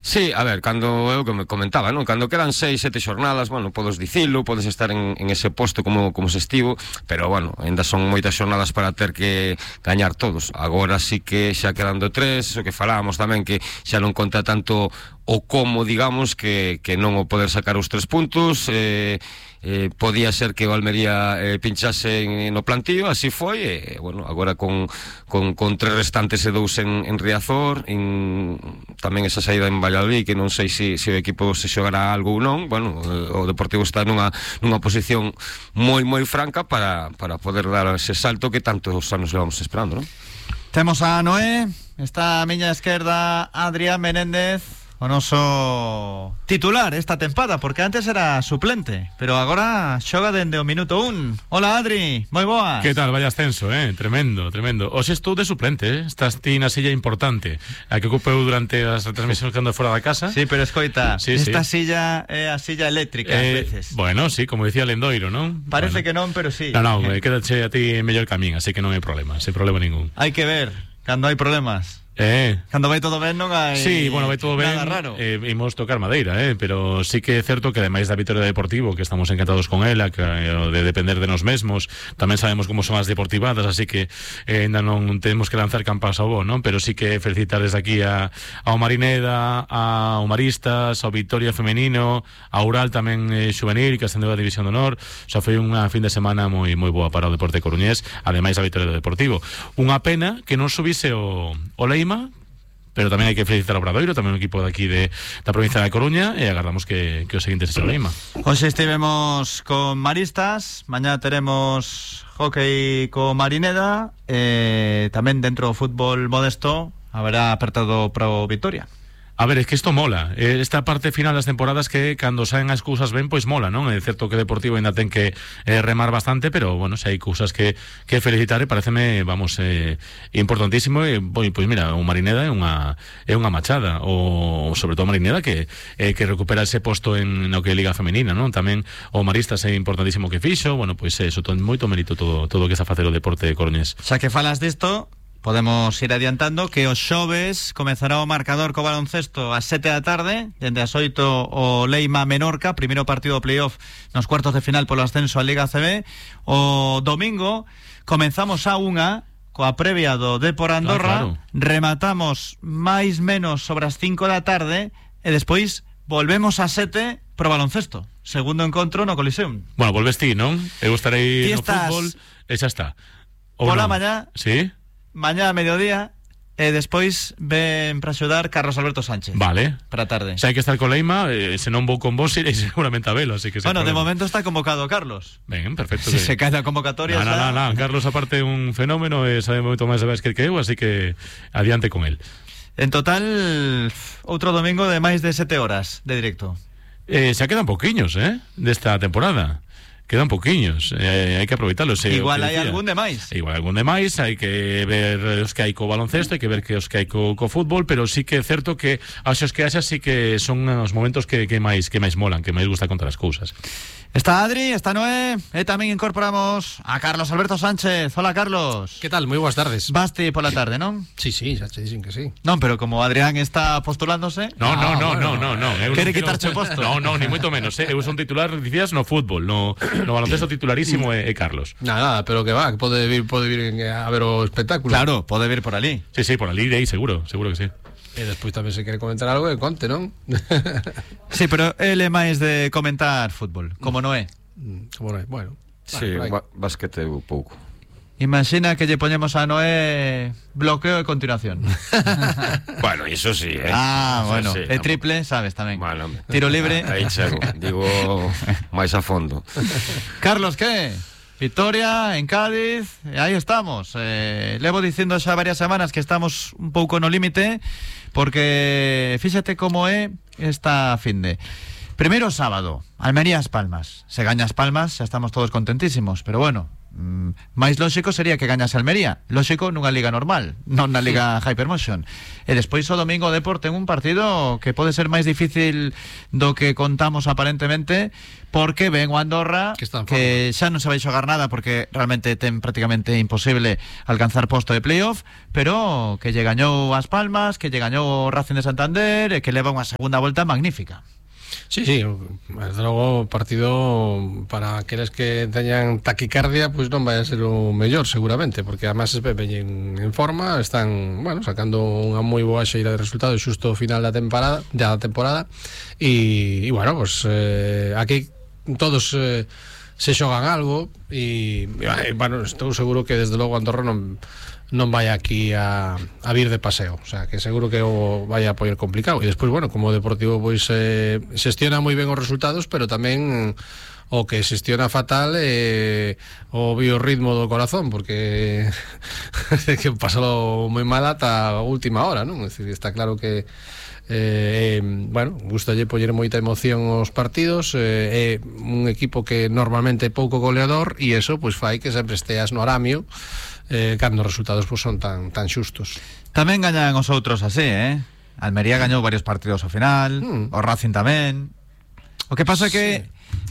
Sí, a ver, cando eu que me comentaba, non? Cando quedan 6, 7 xornadas, bueno, podes dicilo, podes estar en ese posto como se estivo, pero bueno, ainda son moitas xornadas para ter que gañar todos. Agora sí que xa quedando 3, o que falábamos tamén, que xa non conta tanto o como, digamos, que non o poder sacar os 3 puntos. Podía ser que o Almería pinchase no plantío, así foi, bueno, agora con 3 restantes e 2 en Riazor, tamén esa saída en Valladolid, que non sei se o equipo se xogará algo ou non. Bueno, o Deportivo está nunha posición moi franca para poder dar ese salto que tantos anos levamos esperando, non? Temos a Noé, está a miña esquerda Adrián Menéndez, o noso titular esta tempada, porque antes era suplente, pero agora xoga dende o minuto 1. Hola, Adri, moi boas. Que tal, vaya ascenso, tremendo. Hoxe estou de suplente, estás ti na silla importante, a que ocupeu durante as retransmisións que ando fora da casa. Sí, pero escoita, sí. Silla é a silla eléctrica ás veces. Bueno, sí, como dicía Lendoiro, non? Parece que non, pero sí. Non, quédache a ti mellor camín, así que non hai problema, sen problema ningún. Hai que ver, cando hai problemas. Cando vai todo ben non hai. Sí, bueno, vai todo ben. Nada raro. Imos tocar madeira, pero sí que é certo que ademais da vitória do Deportivo, que estamos encantados con ela, que de depender de nos mesmos, tamén sabemos como son as deportivadas, así que ainda non temos que lanzar campas ao bo, non? Pero sí que felicitar desde aquí ao Marineda, ao Maristas, ao Vitoria femenino, ao Ural tamén xuvenil, que ascendeu a División de Honor. Xa foi unha fin de semana moi boa para o deporte coruñés, ademais da vitória do Deportivo. Unha pena que non subise o Leima, pero tamén hai que felicitar ao Obradoiro, tamén un equipo daqui da provincia da Coruña, e agardamos que o seguinte sexa o Leima. Hoxe estivemos con Maristas, mañá teremos hockey co Marineda, tamén dentro do fútbol modesto haberá apertado pro Vitoria. A ver, es que isto mola. Esta parte final das temporadas que cando saen as cousas ben, pois mola, non? É certo que o Deportivo ainda ten que remar bastante, pero, bueno, se hai cousas que felicitar, e pareceme, vamos, importantísimo. E, pois mira, o Marineda é unha machada, o sobre todo o Marineda que recupera ese posto no que é Liga Femenina, non? Tamén o Maristas é importantísimo que fixo. Bueno, pois eso, moito mérito todo o que está a facer o deporte coruñés. Xa que falas disto, podemos ir adiantando que os xoves comezará o marcador co baloncesto ás 7 da tarde, dende as 8 o Leima Menorca, primeiro partido do playoff nos cuartos de final polo ascenso á Liga ACB. O domingo comenzamos a 1 coa previa do Depor Andorra, claro. Rematamos máis menos sobre as 5 da tarde e despois volvemos a 7 pro baloncesto, segundo encontro no Coliseum. Bueno, volves ti, non? Eu estarei no fútbol e xa está. Pola mañá. Sí? Mañá a mediodía e despois ven para axudar Carlos Alberto Sánchez. Vale. Para a tarde. Se hai que estar con Leima, se non vou con vos, irei seguramente a velo, así que... Bueno, de momento está convocado Carlos. Ben, perfecto. Se cae a convocatoria... No, Carlos aparte é un fenómeno e sabe moito máis de basquet que eu, así que adiante con el. En total, outro domingo de máis de 7 horas de directo. Xa quedan pouquiños, desta temporada. Quedan pouquiños, hai que aproveitarlos. Igual hai algún de máis. Hai que ver os que hai co baloncesto, hai que ver que os que hai co fútbol, pero sí que é certo que aos que haxa sí que son os momentos que máis molan, que máis gusta contar as cousas. Está Adri, está Noé, e tamén incorporamos a Carlos Alberto Sánchez. Hola, Carlos. Que tal? Moi boas tardes. Vaste pola tarde, non? Sí, xa te dicen que sí. Non, pero como Adrián está postulándose... No. Quere quitarche o posto? No, ni moito menos, Eu son titular, dicías, no fútbol, no baloncesto titularísimo é Carlos. Nada, pero que va, que pode vir a ver o espectáculo. Claro, pode vir por ali. Sí, por ali, seguro que sí. E despois tamén se quere comentar algo, que conte, non? Sí, pero ele é máis de comentar fútbol, como non é. Como non é, bueno. Sí, basquete un pouco. Imagina que lle poñemos a Noé bloqueo de continuación. Bueno, iso sí, bueno, sí, e triple, sabes tamén. Bueno, tiro libre. Aí chego, digo máis a fondo. Carlos, que? Vitoria en Cádiz, aí estamos. Levo dicindo xa varias semanas que estamos un pouco no límite, porque fíxate como é esta finde. Primeiro sábado, Almería As Palmas. Se gaña As Palmas, xa estamos todos contentísimos, pero bueno, máis lóxico sería que gañase Almería, lóxico nunha liga normal, non na liga Hypermotion. E despois o domingo o Depor ten un partido que pode ser máis difícil do que contamos aparentemente, porque ven o Andorra que xa non se vai xogar nada porque realmente ten prácticamente imposible alcanzar posto de playoff, pero que lle gañou as Palmas, que lle gañou o Racing de Santander e que leva unha segunda volta magnífica. Sí, desde logo o partido para aqueles que teñan taquicardia pois non vai a ser o mellor seguramente, porque además veñen en forma, están, bueno, sacando unha moi boa xeira de resultados xusto ao final da temporada e bueno, pues aquí todos se xogan algo e bueno, estou seguro que desde logo Andorra non vai aquí a vir de paseo, o sea, que seguro que o vai a poder complicado. E despois, bueno, como o Deportivo pois xestiona moi ben os resultados, pero tamén o que xestiona fatal o biorritmo do corazón, porque que pasalo moi mal ata a última hora, non? É dicir, está claro que bueno, gustalle poñer moita emoción aos partidos, é un equipo que normalmente é pouco goleador e eso pois fai que sempre esteas no aramio cando os resultados pois son tan xustos. Tamén gañan os outros así, Almería gañou varios partidos ao final, o Racing tamén. O que pasa é que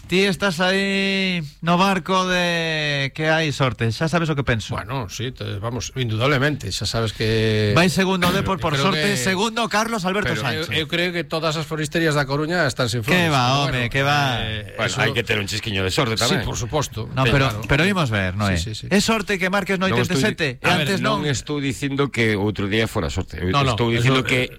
ti estás aí no barco de que hai sorte, xa sabes o que penso. Bueno, sí, vamos, indudablemente, xa sabes que vai segundo Depor por sorte, segundo Carlos Alberto Sánchez. Eu creo que todas as foristerias da Coruña están sin flores. Que va, home, que va. Bueno, hai que ter un chisquiño de sorte tamén. Sí, por suposto. No, pero imos ver, non é? Sí. É sorte que marques no 87 e antes non estou dicindo que outro día fora sorte. Estou dicindo que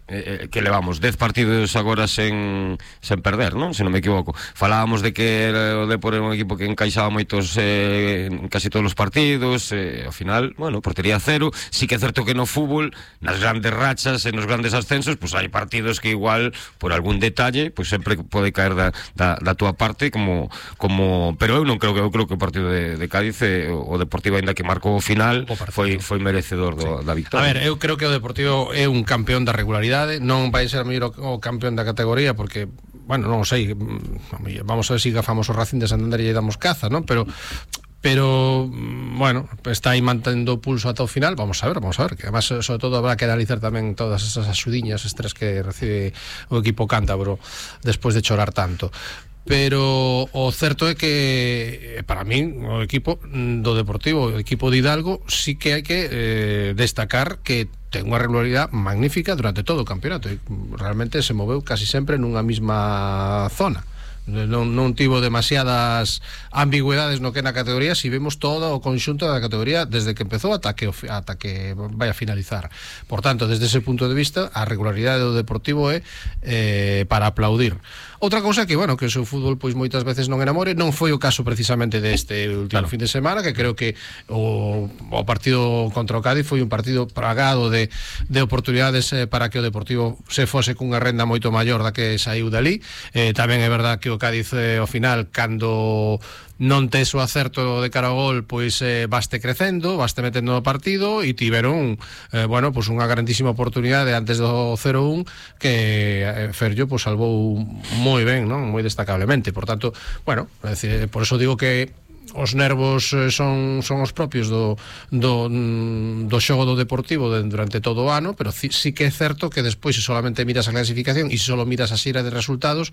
levamos 10 partidos agora sen perder, non? Se non me equivoco. Falábamos de que o Depor era un equipo que encaixaba moitos en casi todos os partidos, ao final, bueno, portería cero. Sí que é certo que no fútbol, nas grandes rachas e nos grandes ascensos, pues hai partidos que igual por algún detalle, pues sempre pode caer da túa parte pero eu non creo que o partido de Cádiz, o Deportivo, aínda que marcou o final, foi merecedor da victoria. A ver, eu creo que o Deportivo é un campeón da regularidade, non vai ser mellor o campeón da categoría porque bueno, non sei, vamos a ver se gafamos o Racing de Santander e lle damos caza, non? Pero bueno, está aí mantendo o pulso ata o final. Vamos a ver, que además sobre todo habrá que analizar tamén todas esas axudiñas extras que recibe o equipo cántabro despois de chorar tanto. Pero o certo é que para min o equipo do Deportivo, o equipo de Hidalgo, sí que hai que destacar que ten unha regularidade magnífica durante todo o campeonato e realmente se moveu casi sempre nunha mesma zona. Non tivo demasiadas ambigüedades no que na categoría, si vemos todo o conxunto da categoría desde que empezou ata que vai a finalizar. Por tanto, desde ese punto de vista, a regularidade do Deportivo é para aplaudir. Outra cousa que, bueno, que o seu fútbol pois moitas veces non enamore, non foi o caso precisamente deste último fin de semana, que creo que o partido contra o Cádiz foi un partido plagado de oportunidades para que o Deportivo se fose cunha renda moito maior da que saiu dali. Tamén é verdad que o Cádiz ao final, cando non tes o acerto de cara ao gol, pois vaste crecendo, vaste metendo no partido e tiveron bueno, pois unha grandísima oportunidade antes do 0-1 que Ferllo pois salvou moi ben, non? Moi destacablemente. Por tanto, bueno, é dicir, por eso digo que os nervos son os propios do xogo do Deportivo durante todo o ano, pero sí que é certo que despois, se solamente miras a clasificación e se solo miras a xeira de resultados,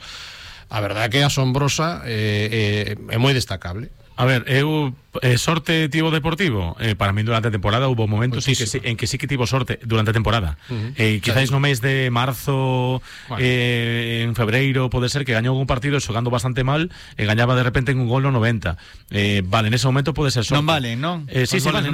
a verdade é que é asombrosa, é moi destacable. A ver, sorte tivo Deportivo, para mí durante a temporada hubo momentos en que sí que tivo sorte durante a temporada. Quizás no mes de marzo, en febreiro, pode ser que gañou algún partido xogando bastante mal e gañaba de repente en un gol no 90. Vale, en ese momento pode ser sorte. Non vale, non? Sí, vale,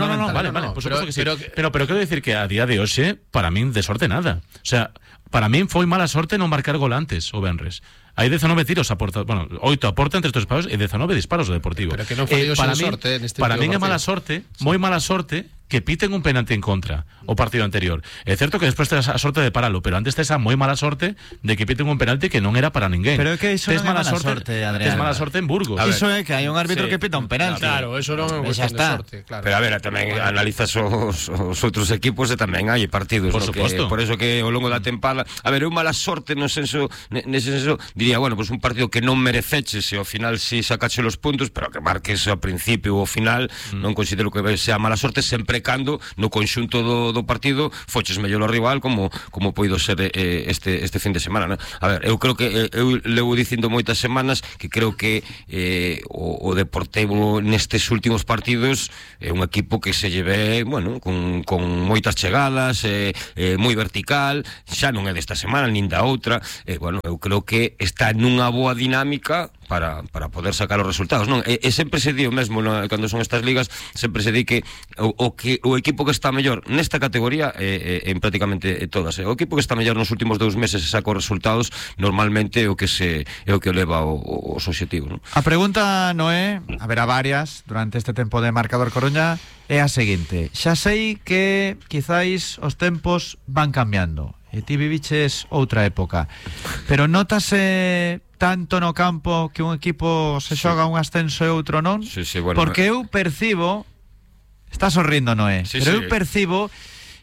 vale, por suposto que sí. Pero quero decir que a día de hoxe, para min de sorte nada. O sea, para min foi mala sorte non marcar gol antes o venres. Hai 19 tiros a porta, bueno, 8 a porta entre estes disparos e 19 disparos o Deportivo. Pero que non foi sorte neste para min é mala sorte, moi mala sorte que piten un penalti en contra o partido anterior. É certo que despois tes a sorte de paralo, pero antes tes a moi mala sorte de que piten un penalti que non era para ninguén. Pero é que iso non é mala sorte, Adrián. Tes mala sorte en Burgos. Iso é que hai un árbitro Sí. que pita un penalti. Claro, eso non é unha Xa cuestión de está. sorte, claro. Pero a ver, tamén analizas os outros equipos e tamén hai partidos, Por no, suposto. por eso que ao longo da tempada, a ver, eu mala sorte no senso, nese senso, diría, bueno, pues un partido que non mereceches e ao final si sacache os puntos, pero que marques ao principio ou ao final, non considero que sea mala sorte, sempre cando no conxunto do partido foches mellor ao rival como poido ser este fin de semana, non? A ver, eu creo que eu levo dicindo moitas semanas que creo que o Deportivo nestes últimos partidos é un equipo que se lleve, bueno, con moitas chegadas, moi vertical, xa non é desta semana nin da outra, bueno, eu creo que está nunha boa dinámica para poder sacar os resultados, non? E sempre se di o mesmo, no, cando son estas ligas, sempre se di que o equipo que está mellor nesta categoría en prácticamente todas, o equipo que está mellor nos últimos 2 meses e saca os resultados, normalmente é o que leva os obxectivos, non? A pregunta, Noé, haberá varias durante este tempo de Marcador Coruña, é a seguinte: xa sei que quizáis os tempos van cambiando e ti viviches outra época, pero notase tanto no campo que un equipo se xoga un ascenso e outro non? Sí, bueno, porque eu percibo, está sorrindo, Noé, sí, pero sí. eu percibo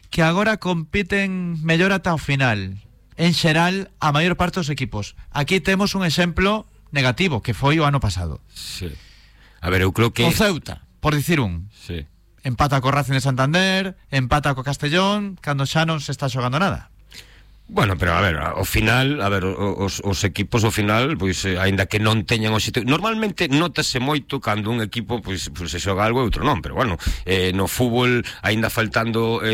que agora compiten mellor ata o final, en xeral, a maior parte dos equipos. Aquí temos un exemplo negativo, que foi o ano pasado. Sí. A ver, eu creo que O Ceuta, por dicir un. sí. Empata co Racing de Santander, empata co Castellón, cando xa non se está xogando nada. Bueno, pero a ver, ao final, a ver, os equipos ao final, pois aínda que non teñan o sitio, normalmente notase moito cando un equipo pois se xoga algo e outro non, pero bueno, no fútbol aínda faltando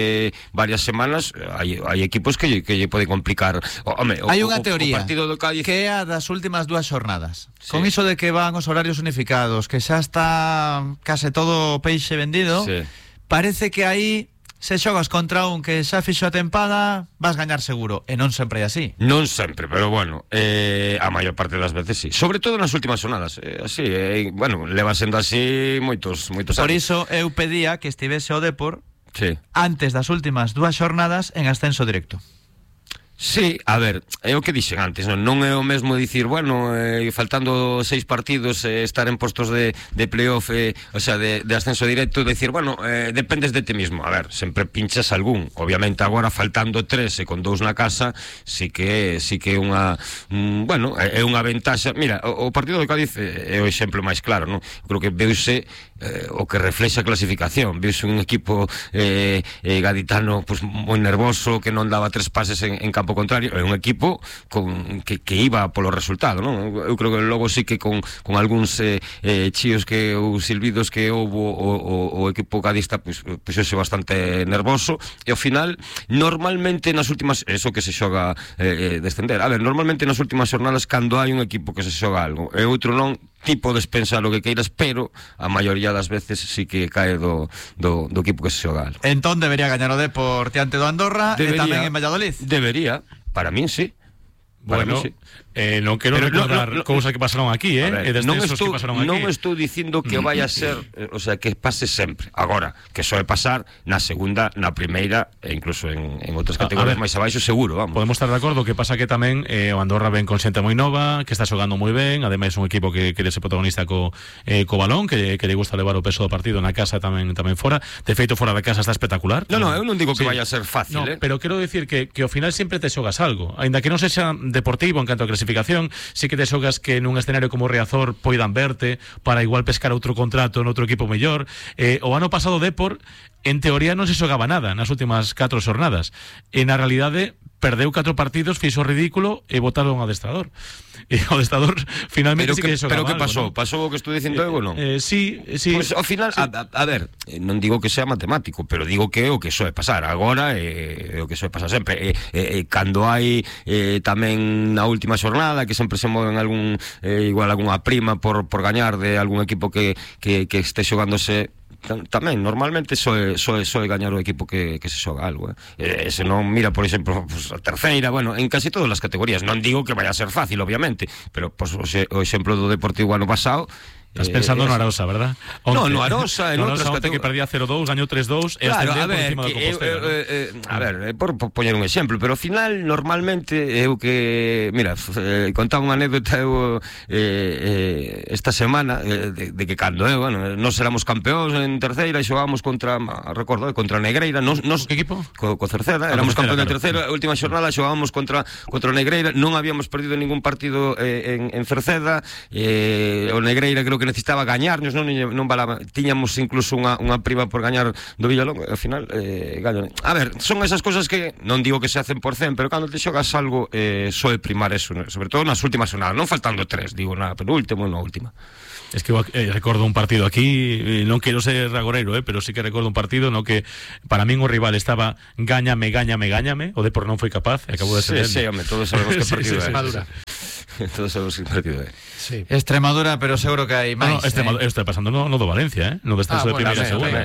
varias semanas, hai equipos que lle pode complicar. Hai unha teoría o partido do Cádiz que é a das últimas 2 xornadas. Sí. Con iso de que van os horarios unificados, que xa está case todo o peixe vendido, sí. Parece que aí se xogas contra un que xa fixo a tempada, vas gañar seguro, e non sempre é así. Non sempre, pero bueno, a maior parte das veces sí. Sobre todo nas últimas jornadas, así, bueno, leva sendo así moitos anos. Por iso eu pedía que estivese o Depor sí. antes das últimas 2 xornadas en ascenso directo. Sí, a ver, é o que dixen antes, non é o mesmo dicir, bueno, faltando 6 partidos, estar en postos de playoff, o sea, de ascenso directo, decir, bueno, dependes de ti mismo. A ver, sempre pinchas algún. Obviamente agora faltando 3 e con 2 na casa, sí que é unha bueno, é unha ventaxa. Mira, o partido do Cádiz é o exemplo máis claro, non? Creo que veuse o que reflexa a clasificación. Veuse un equipo gaditano pues, moi nervoso, que non daba 3 pases en campo contrario, é un equipo que iba polo resultado, non? Eu creo que logo sí que con algúns chíos ou silbidos que houve o equipo cadista puxose bastante nervoso e ao final normalmente nas últimas, eso que se xoga descender, a ver, normalmente nas últimas xornadas cando hai un equipo que se xoga algo e outro non, ti podes pensar o que queiras, pero a maioría das veces sí que cae do equipo que se xoga algo. Entón debería gañar o Depor diante do Andorra e tamén en Valladolid. Debería, para min sí. Bueno, sí. Non quero Pero recordar no, cousas que pasaron aquí, a ver, e descensos que pasaron aquí. Non estou dicindo que vai a ser, o sea, que pase sempre. Agora, que soe pasar na segunda, na primeira e incluso en outras categorías máis abaixo seguro, vamos. Podemos estar de acordo, que pasa que tamén o Andorra ven con xente moi nova, que está xogando moi ben, ademais un equipo que quere ser protagonista co balón, que lle gusta levar o peso do partido na casa tamén fora. De feito, fora da casa está espectacular. No, eu non digo que Sí. vaya a ser fácil, No, pero quero dicir que ao final sempre te xogas algo, aínda que non sexa deportivo en canto a clasificación, sí que te xogas que nun escenario como Riazor poidan verte para igual pescar outro contrato noutro equipo mellor. O ano pasado Depor en teoría non se xogaba nada nas últimas 4 xornadas e na realidade perdeu 4 partidos, fixo ridículo e botaron ao adestrador. E o adestrador finalmente sí que xogaba. Pero que pasou? pasou? Pasou o que estou dicindo eu, non? Sí. Pues ao final, sí. a ver, non digo que sea matemático, pero digo que é o que soe pasar agora, é o que soe pasar sempre. Cando hai tamén na última xornada que sempre se moven algún igual algunha prima por gañar de algún equipo que este xogándose, tamén normalmente soe gañar o equipo que se xoga algo, se non mira, por exemplo, pues, a terceira, bueno, en casi todas as categorías, non digo que vaya a ser fácil, obviamente, pero pues, o exemplo do Deportivo ano pasado, Estás pensando no Arosa, ¿verdad? No, no Arosa, en Arosa outras que perdía 0-2, gañou 3-2 e claro, ascendeu por encima do Compostela. A ver, por poñer un exemplo, pero ao final normalmente eu que, mira, contaba unha anécdota eu esta semana de que cando nós éramos campeóns en terceira e xogábamos contra Negreira, que equipo? Co Cerceda, éramos campeóns de terceira, a última xornada xogábamos contra Negreira, non habíamos perdido ningún partido en Cerceda, o Negreira creo que necesitaba gañarnos, non valaba, tiñamos incluso unha prima por gañar do Villalonga, e ao final gaño. A ver, son esas cosas que non digo que se hacen por 100, pero cando te xogas algo soe primar eso, sobre todo nas últimas jornadas, non faltando 3, digo na penúltima ou na última. Es que recordo un partido aquí, non quero ser agoreiro, pero sí que recordo un partido no que para min o rival estaba gáñame, o Depor non foi capaz e acabou de ser. Sí, home, todos sabemos que partido é. Extremadura. Todos sabemos que partido é. Sí. Extremadura, pero seguro que hai máis. Está pasando no do Valencia, no descenso de primeira e segunda.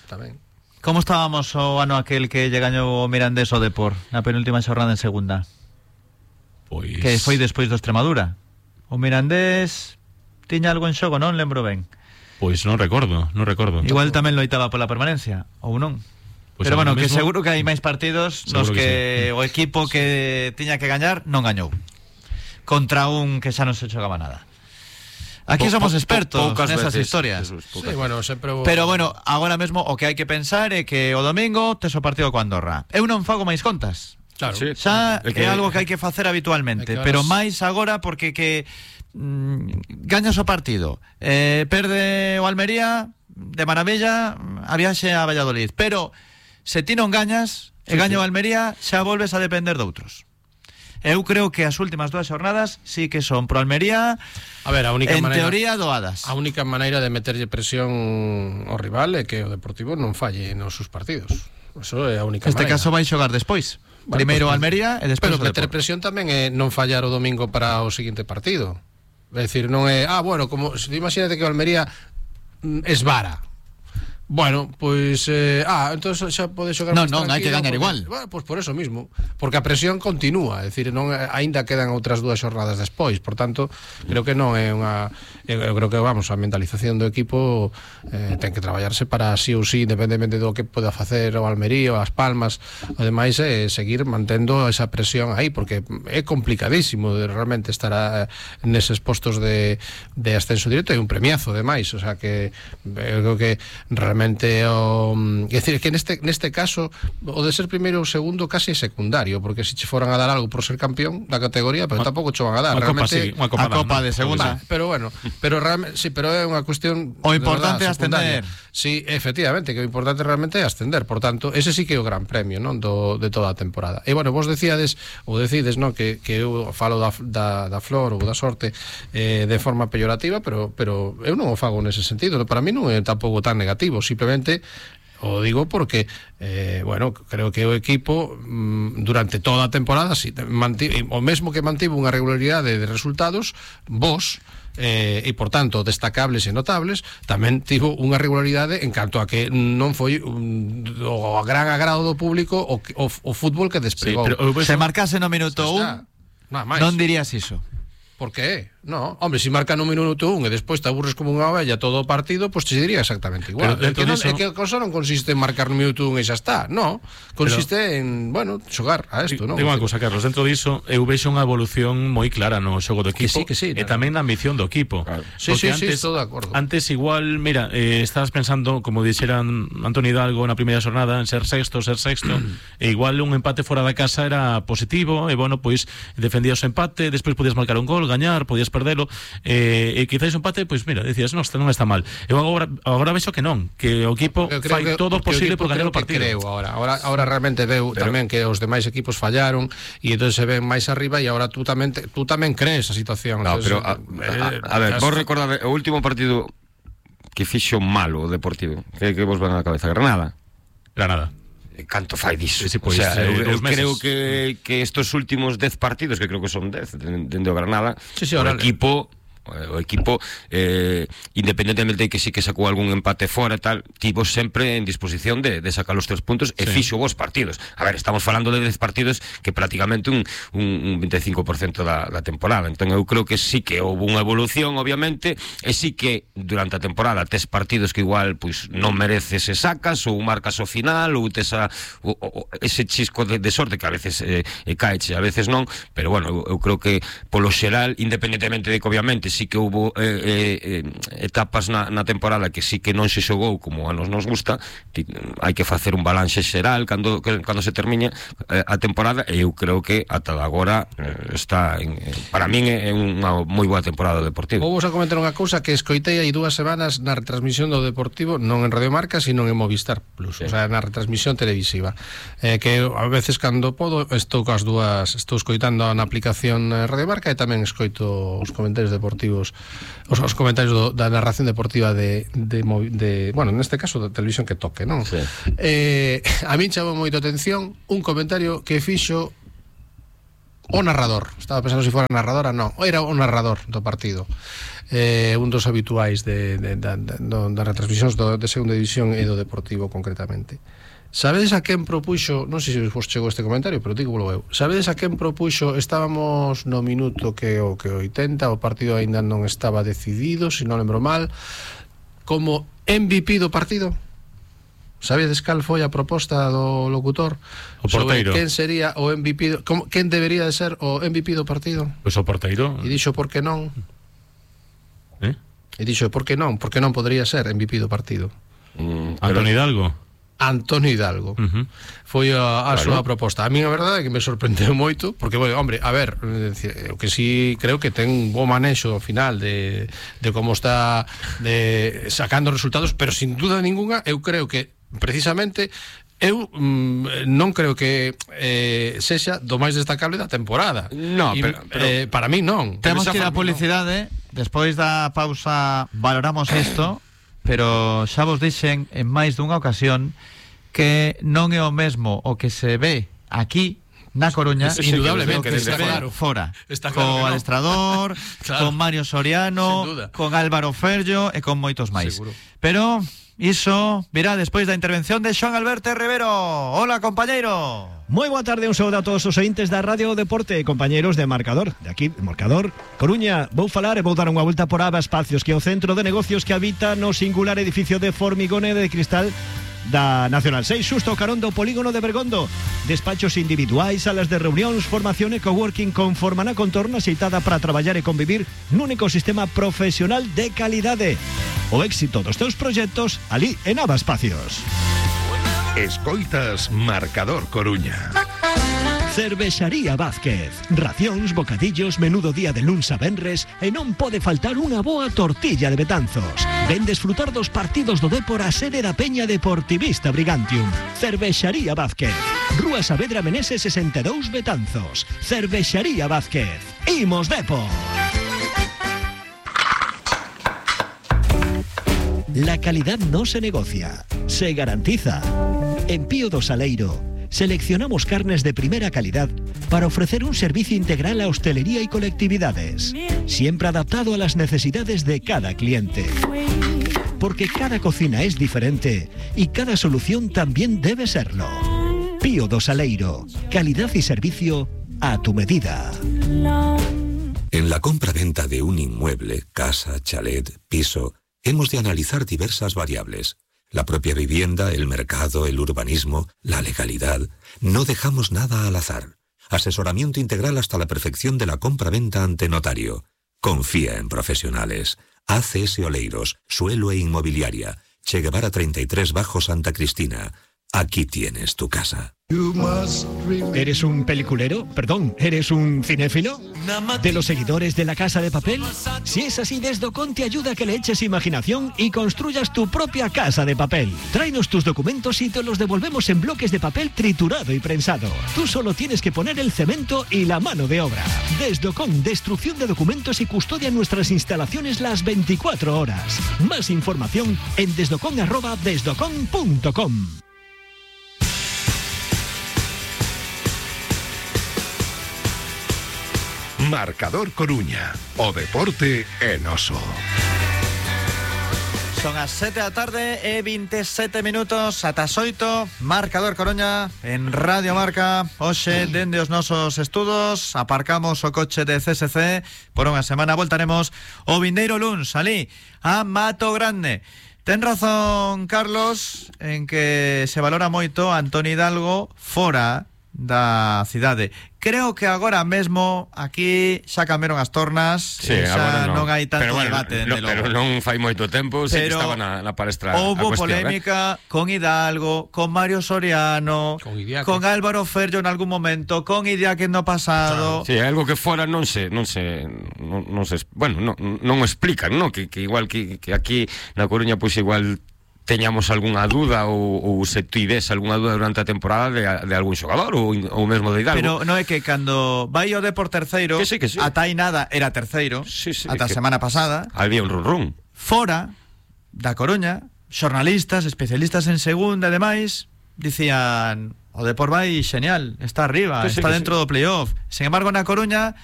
Tamén. Como estábamos o ano aquel que lle gañou o Mirandés o Depor na penúltima xornada en segunda? Pois... Que foi despois do Extremadura. O Mirandés tiña algo en xogo, non lembro ben. Pois non recordo. Igual tamén loitaba pola permanencia, ou non? Pues pero bueno, que mismo, seguro que hai máis partidos nos que sí. O equipo que tiña que gañar non gañou contra un que xa non se xogaba nada. Aquí somos expertos nesas historias. Sí, bueno, sempre... Pero bueno, agora mesmo o que hai que pensar é que o domingo tes o partido co Andorra. Eu non fago máis contas. Claro. Sí. Xa é algo que hai que facer habitualmente, pero máis agora porque gañas o partido, perde o Almería de maravilla a viaxe a Valladolid, pero se ti non gañas e gaña o Almería xa volves a depender de outros. Eu creo que as últimas 2 xornadas sí que son pro Almería, a ver, a única en maneira, teoría doadas. A única maneira de meterlle presión ao rival é que o Deportivo non falle nos seus partidos. Eso é a única maneira. Neste caso vai xogar despois. Bueno, primeiro pues, Almería e despois o Depor. Pero meter presión tamén é non fallar o domingo para o seguinte partido. É dicir, non é, bueno, como imagínate que o Almería esvara. Bueno, pois entonces xa pode xogar máis tranquilo. Non, hai que gañar igual. Bueno, pois por eso mismo, porque a presión continúa, é dicir, non aínda quedan outras 2 xornadas despois, por tanto, creo que non é unha eu creo que a mentalización do equipo ten que traballarse para sí ou sí, independentemente do que poda facer o Almería ou as Palmas, ademais seguir mantendo esa presión aí, porque é complicadísimo realmente estar neses postos de ascenso directo, é un premiazo ademais, o sea que eu creo que realmente é dicir, que neste caso o de ser primeiro ou segundo casi é secundario, porque se che foran a dar algo por ser campeón da categoría, pero tampouco che van a dar realmente a Copa de segunda. Pero bueno, pero realmente sí, pero é unha cuestión o importante é ascender. Sí, efectivamente, que o importante realmente é ascender, por tanto, ese sí que é o gran premio, non, de toda a temporada. E bueno, vos decides, non, que eu falo da flor ou da sorte de forma peyorativa, pero eu non o fago nese sentido, para mí non é tampouco tan negativo, simplemente o digo porque bueno, creo que o equipo durante toda a temporada o mesmo que mantivo unha regularidade de resultados vos e por tanto destacables e notables, tamén tivo unha regularidade en canto a que non foi o gran agrado do público o fútbol que despegou. Sí, pero se marcase no minuto 1 non dirías iso. Por qué? No, hombre, si marca no minuto 1 e despois te aburres como unha ovella todo o partido, pois te diría exactamente igual. É que a cosa non consiste en marcar no minuto 1 e xa está, no. Consiste en, bueno, xogar a isto, non? Digo unha cousa, Carlos, dentro diso eu vexo unha evolución moi clara no xogo do equipo que sí, e tamén na ambición do equipo. Claro. Sí, estou de acordo. Antes igual, mira, estabas pensando, como dixeran Antonio Hidalgo na primeira xornada, en ser sexto, e igual un empate fora da casa era positivo, e bueno, pois defendías o empate, despois podías marcar un gol, gañar, podías perdelo, e quizás un empate, pois mira, decías, non está mal. Eu agora vexo que non, que o equipo fai todo o posible por gañar o partido. Creo agora realmente veo tamén que os demais equipos fallaron e entón se ven máis arriba e agora tú tamén crees a situación. No, pero a ver, vos recordade o último partido que fixo malo o Deportivo, que vos ven á cabeza? Granada. Canto fai diso? Sí, pues, o sea, eu creo que estos últimos 10 partidos, que creo que son 10 dende o Granada, o o equipo independentemente de que sí que sacou algún empate fora e tal, tivo sempre en disposición de sacar os 3 puntos e fixo vos partidos. A ver, estamos falando de 10 partidos que prácticamente un 25% da temporada. Entón eu creo que sí que houve unha evolución, obviamente, e sí que durante a temporada tes partidos que igual pois non mereces e sacas, ou marcas ao final, ou tes ese chisco de sorte que a veces caeche, a veces non, pero bueno, eu creo que polo xeral, independentemente de que obviamente sí que houve etapas na temporada que sí que non se xogou como a nos gusta, hai que facer un balance xeral cando se termine a temporada, e eu creo que ata agora está para min é unha moi boa temporada do Deportivo. Vou a comentar unha cousa que escoitei hai 2 semanas na retransmisión do Deportivo, non en Radio Marca, sino en Movistar Plus, o sea, na retransmisión televisiva, que a veces cando podo estou escoitando na aplicación Radio Marca e tamén escoito os comentarios deportivos, os comentarios da narración deportiva de bueno, neste caso da televisión que toque, non? Sí. A min chamou moito atención un comentario que fixo o narrador. Estaba pensando se fora narradora, non, era o narrador do partido. Un dos habituais das retransmisións de segunda división e do Deportivo concretamente. Sabedes a quen propuxo, non sei se vos chegou este comentario, pero digo eu. Sabedes a quen propuxo, estábamos no minuto que 80, o partido aínda non estaba decidido, se non lembro mal, como MVP do partido? Sabedes cal foi a proposta do locutor? O porteiro. Sobre quen sería o MVP, quen debería de ser o MVP do partido? Pois o porteiro. E dixo por que non? E dixo por que non podría ser MVP do partido? Antonio Hidalgo. Antonio Hidalgo. Foi a súa proposta. A mí a verdade é que me sorprendeu moito, porque, bueno, hombre, a ver, o que sí creo que ten un bo manexo ao final de como está sacando resultados, pero sin duda ninguna eu creo que precisamente eu non creo que sexa do máis destacable da temporada. No, pero para mí non. Temos que ir a publicidade, despois da pausa valoramos isto, pero xa vos dixen en máis dunha ocasión que non é o mesmo o que se ve aquí na Coruña, indudablemente, que se ve fora, co adestrador, con Mario Soriano, con Álvaro Ferllo e con moitos máis. Seguro. Pero iso virá despois da intervención de Xoán Alberto Rivero. Hola, compañeiro. Moi boa tarde, un saúdo a todos os ointes da Radio Deporte, compañeiros de Marcador. De aquí, Marcador Coruña. Vou falar e vou dar unha volta por Aba Espacios, que é o centro de negocios que habita no singular edificio de formigón e de cristal da Nacional 6, xusto carón do polígono de Bergondo. Despachos individuais, salas de reunións, formación e coworking conforman a contorna xeitada para traballar e convivir nun ecosistema profesional de calidade. O éxito dos teus proxectos ali en Aba Espacios. Escoitas Marcador Coruña. Cervexaría Vázquez. Racións, bocadillos, menudo día de luns a venres e non pode faltar unha boa tortilla de Betanzos. Ven desfrutar dos partidos do Dépor a sede da Peña Deportivista Brigantium. Cervexaría Vázquez. Rúa Saavedra Meneses 62 Betanzos. Cervexaría Vázquez. Imos Dépor. La calidad no se negocia, se garantiza. En Pío do Saleiro seleccionamos carnes de primera calidad para ofrecer un servicio integral a hostelería y colectividades, siempre adaptado a las necesidades de cada cliente. Porque cada cocina es diferente y cada solución también debe serlo. Pío do Saleiro, calidad y servicio a tu medida. En la compra-venta de un inmueble, casa, chalet, piso, hemos de analizar diversas variables. La propia vivienda, el mercado, el urbanismo, la legalidad. No dejamos nada al azar. Asesoramiento integral hasta la perfección de la compra-venta ante notario. Confía en profesionales. ACS Oleiros, Suelo e Inmobiliaria. Che Guevara 33 Bajo Santa Cristina. Aquí tienes tu casa. ¿Eres un peliculero? Perdón, ¿eres un cinéfilo? ¿De los seguidores de La Casa de Papel? Si es así, Desdocon te ayuda a que le eches imaginación y construyas tu propia casa de papel. Tráenos tus documentos y te los devolvemos en bloques de papel triturado y prensado. Tú solo tienes que poner el cemento y la mano de obra. Desdocon, destrucción de documentos y custodia en nuestras instalaciones las 24 horas. Más información en desdocon@desdocon.com. Marcador Coruña. O deporte é noso. Son as 7 da tarde e 27 minutos ata as 8, Marcador Coruña en Radio Marca. Hoxe, dende os nosos estudos, aparcamos o coche de CSC por unha semana. Voltaremos o vindeiro luns ali a Mato Grande. Ten razón Carlos en que se valora moito Antoni Hidalgo fora da cidade. Creo que agora mesmo aquí xa cambiaron as tornas, sí, xa non hai tanto pero bueno, debate. pero non fai moito tempo, sí que estaba na palestra. Houbo polémica con Hidalgo, con Mario Soriano, con Álvaro Ferro en algún momento, con Idiáquez no pasado. Sí, algo que fora non se bueno, non o explican, ¿no? Que igual que aquí na Coruña pois igual teñamos algunha dúda ou se tives algunha dúda durante a temporada de algún xogador ou mesmo de Hidalgo. Pero non é que cando vai o Depor terceiro, que sí. ata aí nada era terceiro, ata a semana pasada. Había un run. Fora da Coruña, xornalistas, especialistas en segunda e demais, dicían o Depor vai xeñal, está arriba, está dentro do playoff. Sin embargo, na Coruña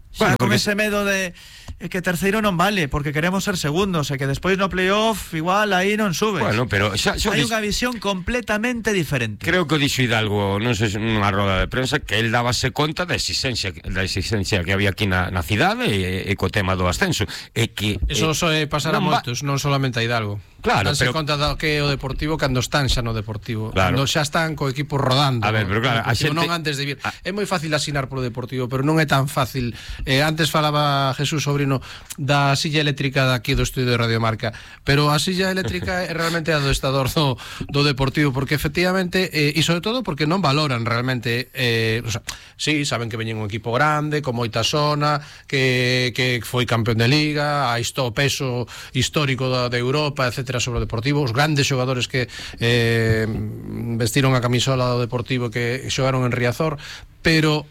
xa con ese medo de que terceiro non vale, porque queremos ser segundos e que despois no playoff igual aí non subes. Bueno, pero hai unha visión completamente diferente. Creo que o dixo Hidalgo, non sei, nunha roda de prensa, que él dábase conta da exigencia que había aquí na cidade e co tema do ascenso. E que eso pasará moitos, non solamente a Hidalgo. Claro, pero conta do que é o Deportivo cando están xa no Deportivo, claro. Cando xa están co equipo rodando. A ver, pero claro, a xente non antes de vir. É moi fácil asinar polo Deportivo, pero non é tan fácil. Antes falaba Jesús Sobrino da silla eléctrica daqui do estudio de Radio Marca, pero a silla eléctrica é realmente a do estador do Deportivo, porque efectivamente e sobre todo porque non valoran realmente o sea, sí, saben que veñen un equipo grande, con moita zona, que foi campeón de Liga, a o peso histórico de Europa, etcétera, sobre o Deportivo, os grandes xogadores que vestiron a camisola do Deportivo, que xogaron en Riazor, pero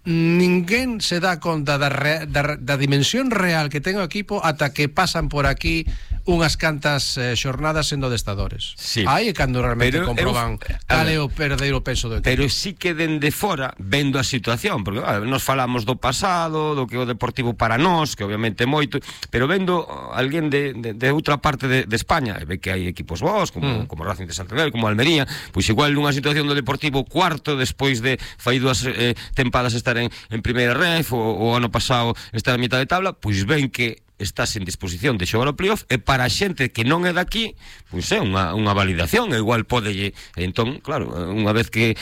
ninguén se dá conta da dimensión real que ten o equipo ata que pasan por aquí unhas cantas xornadas sendo adestadores. Sí. Aí é cando realmente comproban cal é o verdadeiro peso do equipo. Pero sí que dende fora, vendo a situación, porque nos falamos do pasado, do que o Deportivo para nós, que obviamente é moito, pero vendo alguén de outra parte de España, ve que hai equipos vos, como Racing de Santander, como Almería, pois igual nunha situación do Deportivo cuarto, despois de fai 2 tempadas estar en primeira ref, o ano pasado estar a mitad de tabla, pois ven que estás en disposición de xogar o playoff, e para a xente que non é daqui, pois é unha validación, e igual pode, entón, claro, unha vez que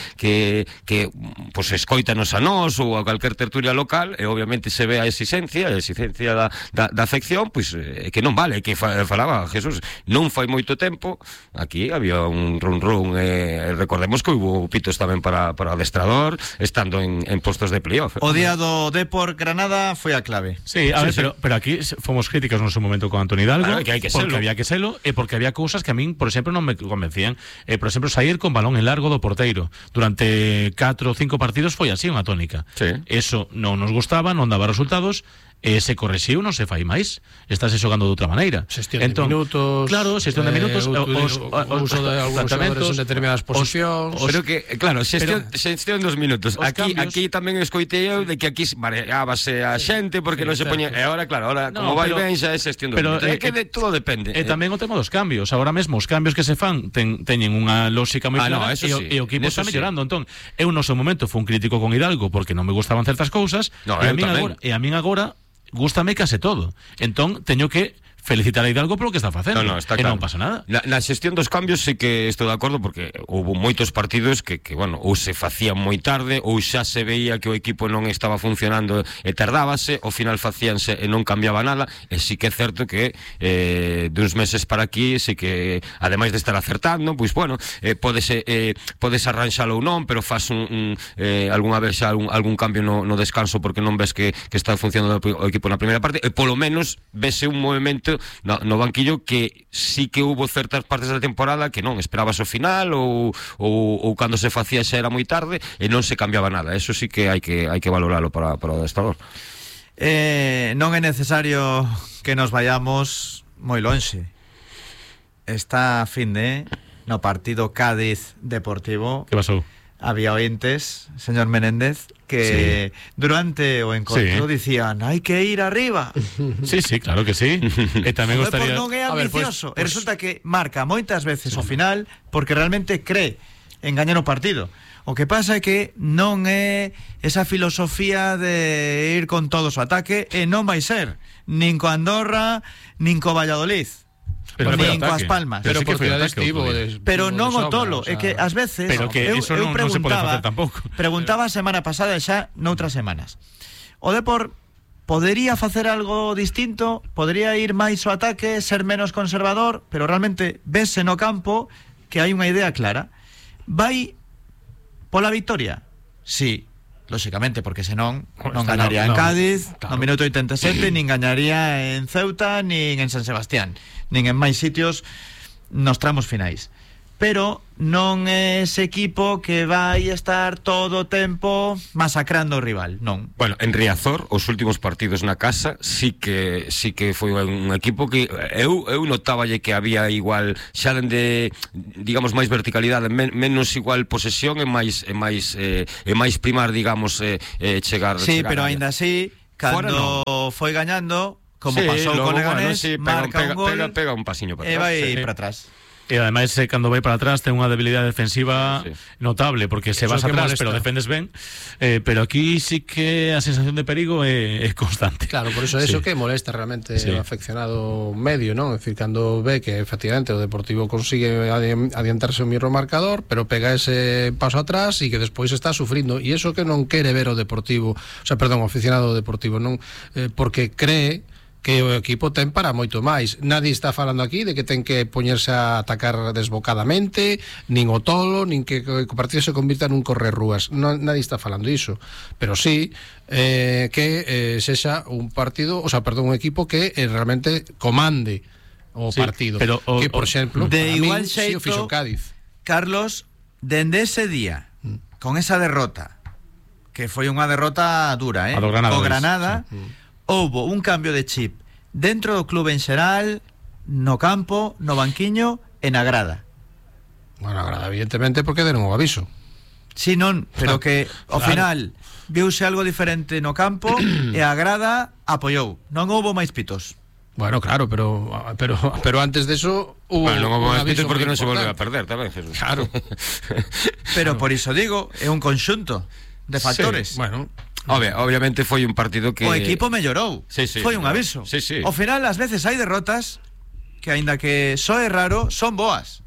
pois escoítanos a nós ou a calquer tertulia local, e obviamente se ve a exigencia da afección, pois que non vale, que falaba Jesús, non fai moito tempo aquí había un run, e recordemos que hubo pitos tamén para o adestrador estando en postos de playoff. O día do Depor Granada foi a clave. Sí, a ver, pero aquí fomos críticos no seu momento con Antoni Hidalgo, claro, que hai que porque había que selo, e porque había cousas que a min, por exemplo, non me convencían. Por exemplo, sair con balón en largo do porteiro durante 4 ou 5 partidos foi así unha tónica. Sí. Eso non nos gustaba, non daba resultados, se correxiu, non se fai máis. Estáse xogando de outra maneira. Xestión de minutos. Claro, xestión de minutos, uso de algúns xogadores en determinadas posicións. Pero que, claro, xestión dos minutos. Aquí tamén escoitei eu de que aquí mareábase a xente porque non se poña. E agora, claro, como vai ben xa é xestión dos minutos. É que todo depende. E tamén o tema dos cambios. Agora mesmo os cambios que se fan teñen unha lógica moi clara, e o equipo está mellorando. Entón, eu no seu momento fui un crítico con Hidalgo porque non me gustaban certas cousas, e a min agora gústame case todo. Entón, teño que felicitar a Hidalgo polo que está facendo. Está claro. claro. Non pasa nada. Na xestión dos cambios sí que estou de acordo, porque houve moitos partidos que bueno, ou se facían moi tarde, ou xa se veía que o equipo non estaba funcionando e tardábase, ao final facíanse e non cambiaba nada, e sí que é certo que duns meses para aquí sí que, ademais de estar acertando, pois bueno, podes arranxalo ou non, pero faz algunha vez xa algún cambio no descanso porque non ves que está funcionando o equipo na primeira parte, e polo menos vese un movimento no banquillo que sí que hubo certas partes da temporada que non esperabas o final ou cando se facía xa era moi tarde e non se cambiaba nada. Eso sí que hai que valoralo para o adestrador. Non é necesario que nos vayamos moi lonxe. Está a fin de no partido Cádiz Deportivo. Que pasou? había ointes, señor Menéndez, que durante o encontro dicían hai que ir arriba. Sí, claro que sí. E tamén gostaría... Non é ambicioso. E resulta que marca moitas veces o final porque realmente cree en gañar o partido. O que pasa é que non é esa filosofía de ir con todos o ataque, e non vai ser nin co Andorra, nin co Valladolid. Nin coas Palmas. Pero por cidades pero non o tolo, é que ás veces pero que eso non se pode facer tampouco. Preguntaba a semana pasada e xa noutras semanas. O Depor podería facer algo distinto, podería ir máis ao ataque, ser menos conservador, pero realmente vese no campo que hai unha idea clara. Vai pola victoria? Sí, lóxicamente, porque senón non gañaría en Cádiz, no minuto 87, nin gañaría en Ceuta, nin en San Sebastián, nin en máis sitios nos tramos finais. Pero non é ese equipo que vai estar todo o tempo masacrando o rival, non. Bueno, en Riazor, os últimos partidos na casa sí que foi un equipo que eu notáballe que había igual xa dende, digamos, máis verticalidade, menos igual posesión e máis primar, digamos, chegar. Sí, chegar pero aínda así, cando foi gañando, como pasou con Leganés, marca un gol, pega un pasiño para atrás, e vai para atrás. E ademais cando vai para atrás ten unha debilidade defensiva notable, porque se vas atrás pero defendes ben, pero aquí sí que a sensación de perigo é constante. Claro, por eso que molesta realmente o afeccionado medio, ¿no? Es decir, cando ve que efectivamente o Deportivo consigue adiantarse o mirro marcador, pero pega ese paso atrás e que despois está sufrindo, e eso que non quere ver o Deportivo, o aficionado do Deportivo, non, porque cree que o equipo ten para moito máis. Nadie está falando aquí de que ten que poñerse a atacar desbocadamente, nin o tolo, nin que o partido se convirta nun correrrúas. Nadie está falando iso. Pero sí que sexa un partido, un equipo que realmente comande o partido. Pero que, por exemplo, de igual xeito, o fixo Cádiz. Carlos, dende ese día, con esa derrota, que foi unha derrota dura, a do Granada, o Granada, houbo un cambio de chip dentro do clube en xeral, no campo, no banquiño e na grada. Bueno, a grada evidentemente porque deron o aviso. Si non, pero que ao final viuse algo diferente no campo e a grada apoiou. Non houbo máis pitos. Bueno, claro, pero antes de eso hubo non houbo máis pitos porque non se volveu a perder tamén, Jesús. Claro. Pero por iso digo, é un conxunto de factores. Bueno, obviamente foi un partido que o equipo mellorou. Foi un aviso. Ao final, ás veces hai derrotas que, aínda que soe raro, son boas.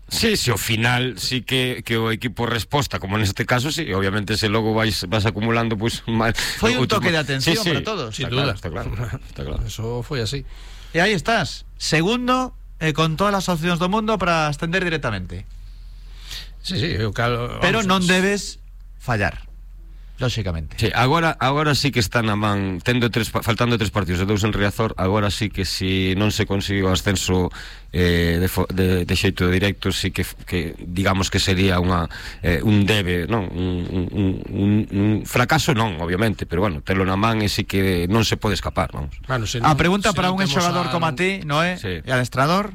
Sí, ao final sí que o equipo resposta, como neste caso, sí, obviamente se logo vas acumulando pues foi un toque de atención para todos. Sin duda, está claro. Eso foi así. E aí estás, segundo, con todas as opcións do mundo para ascender directamente. Sí, pero non debes fallar. Lóxicamente. Sí, agora sí que está na man, faltando 3 partidos e 2 en Riazor, agora sí que si non se conseguiu o ascenso de xeito directo, sí que digamos que sería un debe, non? Un fracaso non, obviamente, pero bueno, telo na man e sí que non se pode escapar, vamos. Bueno, a pregunta para un xogador como a ti, Noé, e adestrador,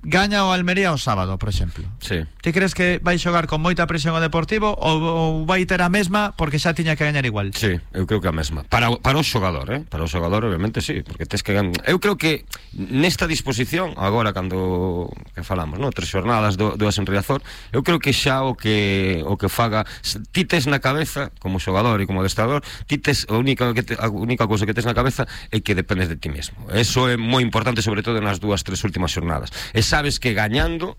gaña o Almería o sábado, por exemplo. Sí. Ti crees que vai xogar con moita presión o Deportivo ou vai ter a mesma porque xa tiña que gañar igual? Sí, eu creo que a mesma. Para o xogador, Para o xogador obviamente sí, porque tes que gañar. Eu creo que nesta disposición, agora cando que falamos, ¿no? 3 xornadas, 2 en Riazor, eu creo que xa o que faga, ti tes na cabeza como xogador e como adestrador, ti tes a única cousa que tes na cabeza é que dependes de ti mesmo. Eso é moi importante, sobre todo nas 2-3 últimas xornadas. Sabes que gañando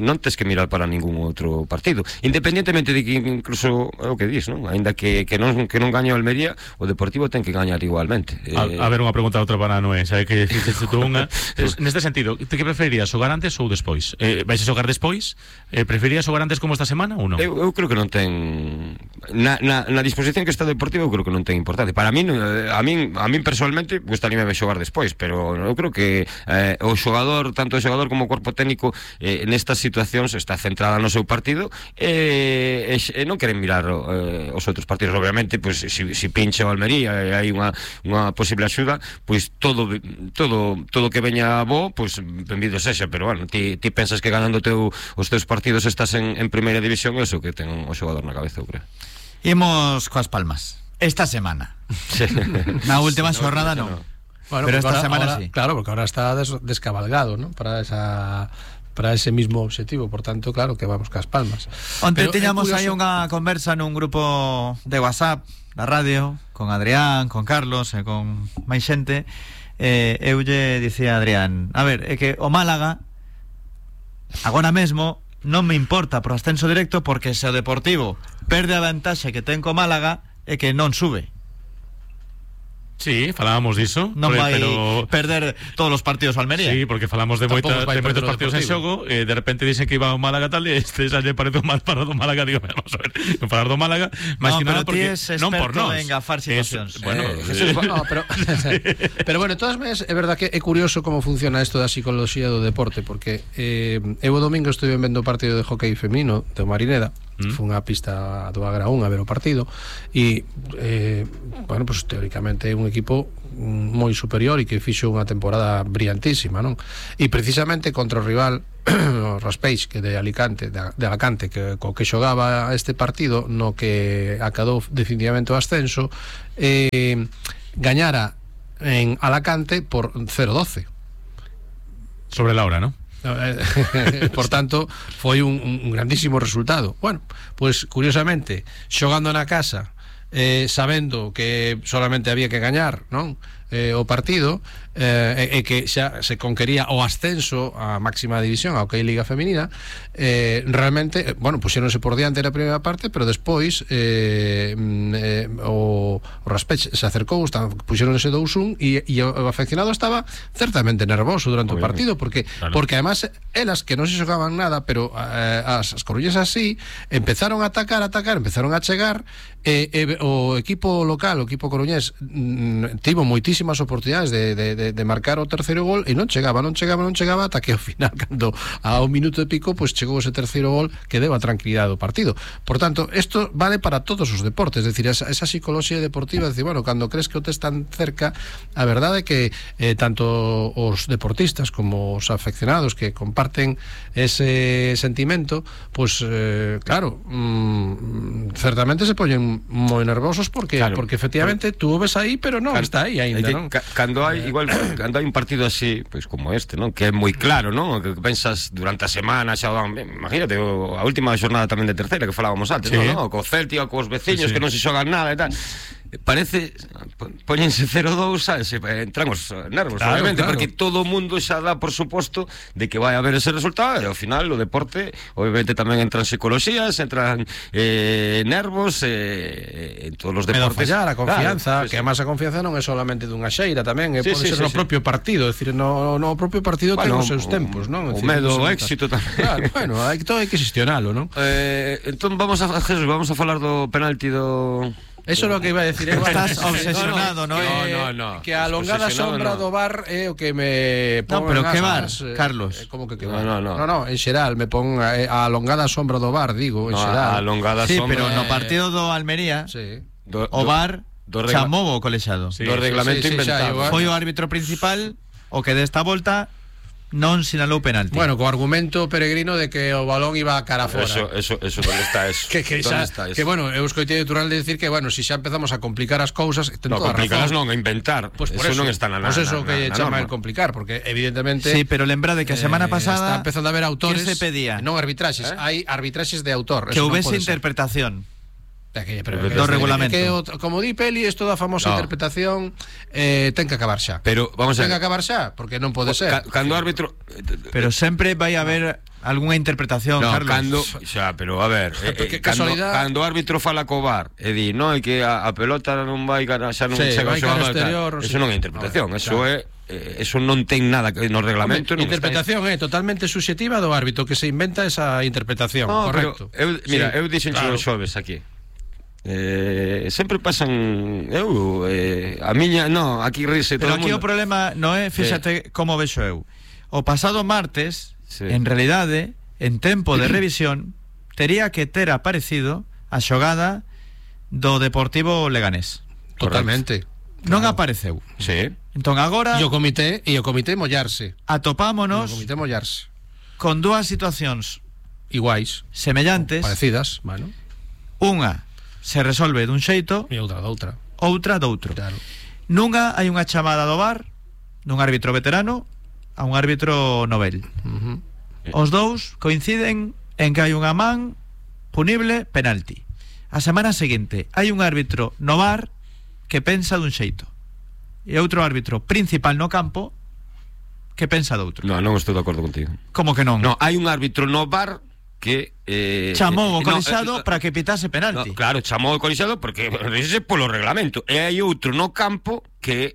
non tes que mirar para ningún outro partido, independentemente de que incluso é o que dis, non? Ainda que non gañe o Almería, o Deportivo ten que gañar igualmente. A ver, unha pregunta outra para Noé, sabe que dixeste tú unha. Neste sentido, ti que preferirías, xogar antes ou despois? Vais a xogar despois? Preferirías xogar antes como esta semana ou non? Eu creo que non ten na disposición que está o Deportivo, eu creo que non ten importante. Para min, a min personalmente gustaríame xogar despois, pero eu creo que o xogador, tanto o xogador xogador como corpo técnico nestas situacións está centrada no seu partido e non queren mirar os outros partidos. Obviamente, pois, si pincha o Almería e hai unha posible axuda, pois todo que veña bo, pois benvido sexa, pero bueno, ti pensas que ganando os teus partidos estás en primeira división, é iso que ten o xogador na cabeza, eu creo. Imos coas palmas esta semana. Sí. Na última xornada non. Bueno, pero esta semana sí. Claro, porque ahora está descabalgado, ¿no? Para ese mismo objetivo, por tanto, claro que vamos cas palmas. Onte tiñamos aí unha conversa nun grupo de WhatsApp da radio con Adrián, con Carlos e con máis xente. Eu lle dicía a Adrián, a ver, é que o Málaga agora mesmo non me importa pro ascenso directo, porque se o Deportivo perde a vantaxe que ten co Málaga é que non sube. Sí, falábamos diso. Non vai perder todos os partidos ao Almería. Sí, porque falamos de moitos partidos en xogo, de repente dicen que iba ao Málaga tal, e xa lle parece mal para do Málaga, digo, vamos a ver, non falar do Málaga, máis que nada porque non por nós. En gafar situacións. Bueno, pero bueno, todas veces é verdad que é curioso como funciona isto da psicología do deporte, porque eu o domingo estuve vendo o partido de hockey feminino do Marineda. Foi unha pista do Agraún a ver o partido e bueno, pues teóricamente é un equipo moi superior e que fixo unha temporada brillantísima, non? E precisamente contra o rival o Raspeix, que de Alacante, que co que xogaba este partido, no que acadou definitivamente o ascenso, gañara en Alacante por 0-12 sobre la hora, ¿no? Por tanto, foi un grandísimo resultado. Bueno, pues curiosamente, xogando na casa, sabendo que solamente había que gañar, non? O partido, e que xa se conquería o ascenso á máxima división, a OK Liga Feminina, realmente, bueno, puxéronse por diante na primeira parte, pero despois o Raspech se acercou, puxéronse 2-1 e o afeccionado estaba certamente nervoso durante o partido, porque además elas que non se xogaban nada, pero as coruñesas así empezaron a atacar, empezaron a chegar, o equipo local, o equipo coruñés, tivo moitísimas oportunidades de marcar o terceiro gol e non chegaba ata que ao final, cando a un minuto e pico, pues chegou ese terceiro gol que deu a tranquilidade do partido. Por tanto, isto vale para todos os deportes, es decir, esa psicología deportiva, es decir, bueno, cando crees que o tes tan cerca, a verdade é que tanto os deportistas como os afeccionados que comparten ese sentimento, pues claro, certamente se poñen moi nervosos porque efectivamente tú o ves aí, pero non está aí aínda, non? Cando hai un partido así, pois como este, non? Que é moi claro, non? Que pensas durante a semana, xa imagínate a última xornada tamén de terceira que falábamos antes, non? Co Celtic, cos veciños que non se xogan nada e tal. Parece, poñense 0-2, sabes, entran os nervos, obviamente, porque todo o mundo xa dá por suposto de que vai haber ese resultado, e ao final o deporte obviamente tamén entran psicologías, entran nervos, en todos os deportes. Fallar a confianza, que además a confianza non é solamente dunha xeira, tamén pode ser no propio partido, é dicir, no propio partido ten os seus tempos, non? O medo, o éxito tamén. Claro, bueno, todo hai que xestionalo, non? Entón vamos a falar do penalti do... Eso é o que iba a decir. Estás obsesionado, ¿no? No. Que a alongada sombra do VAR é o que me pon. No, pero que VAR, Carlos? Como que VAR? No, en xeral me pon a alongada sombra do VAR, digo, en xeral. A alongada sombra. Sí, pero no partido do Almería, o VAR chamou o colexado. Do reglamento inventado. Foi o árbitro principal o que desta volta non sinalou penalti. Bueno, co argumento peregrino de que o balón iba a cara fora. Eso, onde está eso? Que bueno, eu escoitei natural de decir que, bueno, si xa empezamos a complicar as cousas, ten toda a razón. Complicadas non, a inventar. Pues eso non está na norma. Pues eso que chama el complicar, porque evidentemente... Sí, pero lembra de que a semana pasada está empezando a haber autores... Que se pedía? Non arbitraxes, hai arbitraxes de autor. Que houvese interpretación. Do regulamento. Como di Peli, isto da famosa interpretación ten que acabar xa. Pero vamos a ver. Ten que acabar xa, porque non pode ser. Cando o árbitro pero sempre vai haber algunha interpretación, Carlos. Pero a ver, cando o árbitro fala co VAR e di, non, é que a pelota non vai xa non chega ao xogador. Eso non é interpretación, eso é eso non ten nada no reglamento. Interpretación é totalmente subxectiva do árbitro que se inventa esa interpretación, correcto. Eu dixen os xoves aquí. Sempre pasan a miña, aquí rise pero todo aquí mundo. O problema non é, fíxate como vexo eu. o pasado martes, Sí. en realidade, en tempo de revisión, tería que ter aparecido a xogada do Deportivo Leganés. Totalmente. Non apareceu. Sí. Entón agora E o comité mollarse. atopámonos O comité mollarse. con dúas situacións Iguais, semellantes. parecidas, bueno, Unha se resolve dun xeito, e outra doutra. outra doutro. Claro. Nunha hai unha chamada do VAR dun árbitro veterano a un árbitro novel. Os dous coinciden en que hai unha man punible, penalti. A semana seguinte hai un árbitro no VAR que pensa dun xeito e outro árbitro principal no campo que pensa doutro. No, non estou de acordo contigo. Como que non? No, hai un árbitro no VAR que chamou o colexiado para que pitase penalti. No, claro, chamou o colexiado porque ese polo reglamento. E hai outro no campo que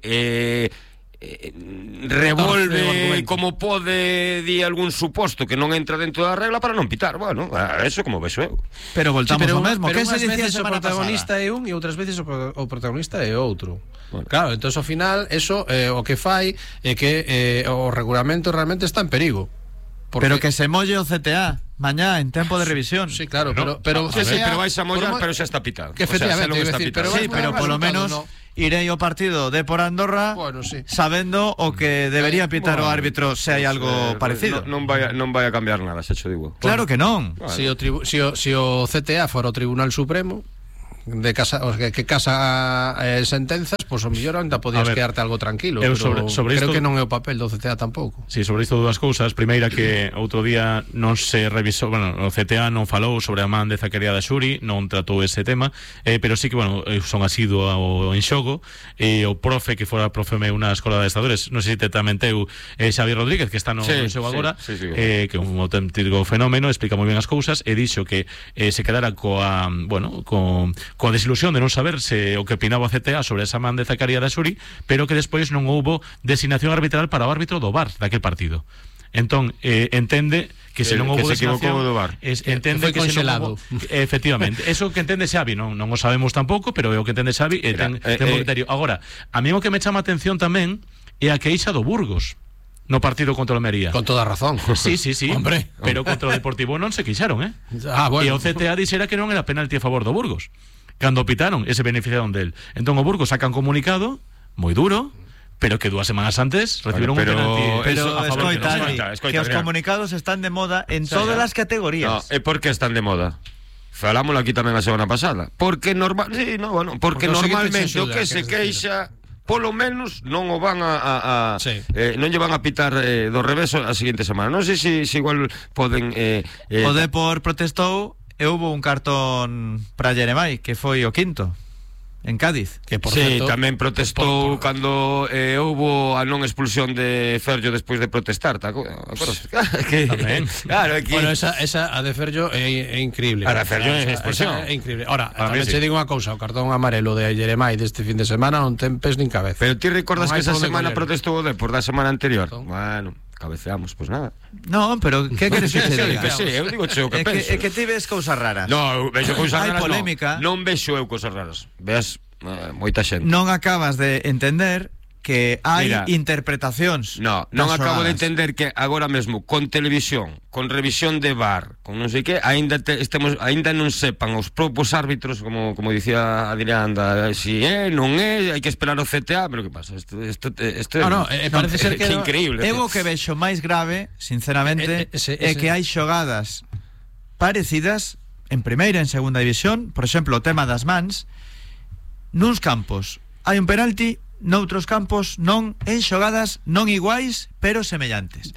revolve como pode di algún suposto que non entra dentro da regla para non pitar. Bueno, eso como vexo eu. Pero voltamos ao mesmo. Pero Que se unhas dicía a veces o semana protagonista pasada? é un e outras veces o protagonista é outro. Bueno. Claro, entón ao final eso o que fai é que o regulamento realmente está en perigo. Pero que se molle o CTA mañá en tempo de revisión. Sí, claro, No, pero Sí, CTA, pero vais a mollar, por pero xa está pitado. Que efectivamente, xa iba a decir, pero Sí, pero polo menos irei ao partido de por Andorra Bueno, sí. sabendo o que debería pitar o árbitro se hai algo parecido. Non vai a cambiar nada, xa cho digo. Claro que non. Si o CTA fora o Tribunal Supremo de casa, que casa sentenzas, pois o mellor ainda podías A ver, quedarte algo tranquilo, eu pero sobre creo isto- que non é o papel do CTA tampouco. Sí, sobre isto dúas cousas. Primeira, que outro día non se revisou, bueno, o CTA non falou sobre a man de Zacaría da Xuri, non tratou ese tema, pero sí que, bueno, son asiduo ao en xogo, o profe que fora profe meu na Escola de Estadores, non sei se tamén teu Xavi Rodríguez, que está no xogo agora, sí. que é un auténtico fenómeno, explica moi ben as cousas, e dixo que se quedara coa desilusión de non saber se o que opinaba o CTA sobre esa man de Zacaría da Xuri, pero que despois non houbo designación arbitral para o árbitro do VAR daquel partido. Entón, entende que se non Que houbo se equivocou designación, do VAR. entende foi que se non conxelado. houbo, efectivamente, eso que entende Xavi, non o sabemos tampouco, pero é o que entende Xavi e ten bo criterio. Agora, a mí o que me chama a atención tamén é a queixa do Burgos no partido contra o Almería. Con toda razón. Sí. Hombre. Pero contra o Deportivo non se queixaron, Ah, bueno. E o CTA dixera que non era penalti a favor do Burgos. Cando pitaron, ese beneficiaron del. Entón o Burgos saca un comunicado moi duro, pero que 2 semanas antes recibieron un penalti. Pero a favor de escoita, los- que os comunicados están de moda en todas as No, categorías. e por que están de moda? Falámoslo aquí tamén a semana pasada. Porque Porque normalmente o seguinte o se axuda, que se queres queixa polo menos non o van Sí. non lle van a pitar do revés a seguinte semana. Non sei se igual poden O Depor protestou e houve un cartón para Jeremai, que foi o quinto en Cádiz. Que por sí, certo, tamén protestou cando houbo a non expulsión de Ferllo despois de protestar, ¿te acordas? Tamén. Claro, aquí Bueno, esa a de Ferllo é increíble. A de Ferllo é expulsión. Esa é increíble. Ahora, Para mí tamén sí. te digo unha cousa, o cartón amarelo de Jeremai deste fin de semana non ten pes nin cabeza. Pero ti recordas Non que hai esa por onde semana coller. protestou o Depor da semana anterior? Entón. Bueno, cabeceamos, pues nada. No, pero que queres que te diga? Que sí, eu digo o que É penso. que ti ves cousas raras. No, eu vexo cousas Hai raras. polémica. Non vexo eu cousas raras. Veas moita xente. Non acabas de entender que hai Mira, interpretacións. Non das acabo de xogadas. entender que agora mesmo con televisión, con revisión de VAR, con non sei que, aínda non sepan os propios árbitros, como dicía Adrián, si non é, hai que esperar o CTA, pero que pasa? Isto parece ser que increíble. Eu o que vexo máis grave, sinceramente, é que hai xogadas parecidas en primeira e en segunda división, por exemplo, o tema das mans, nuns campos hai un penalti, noutros campos non, en xogadas non iguais, pero semellantes.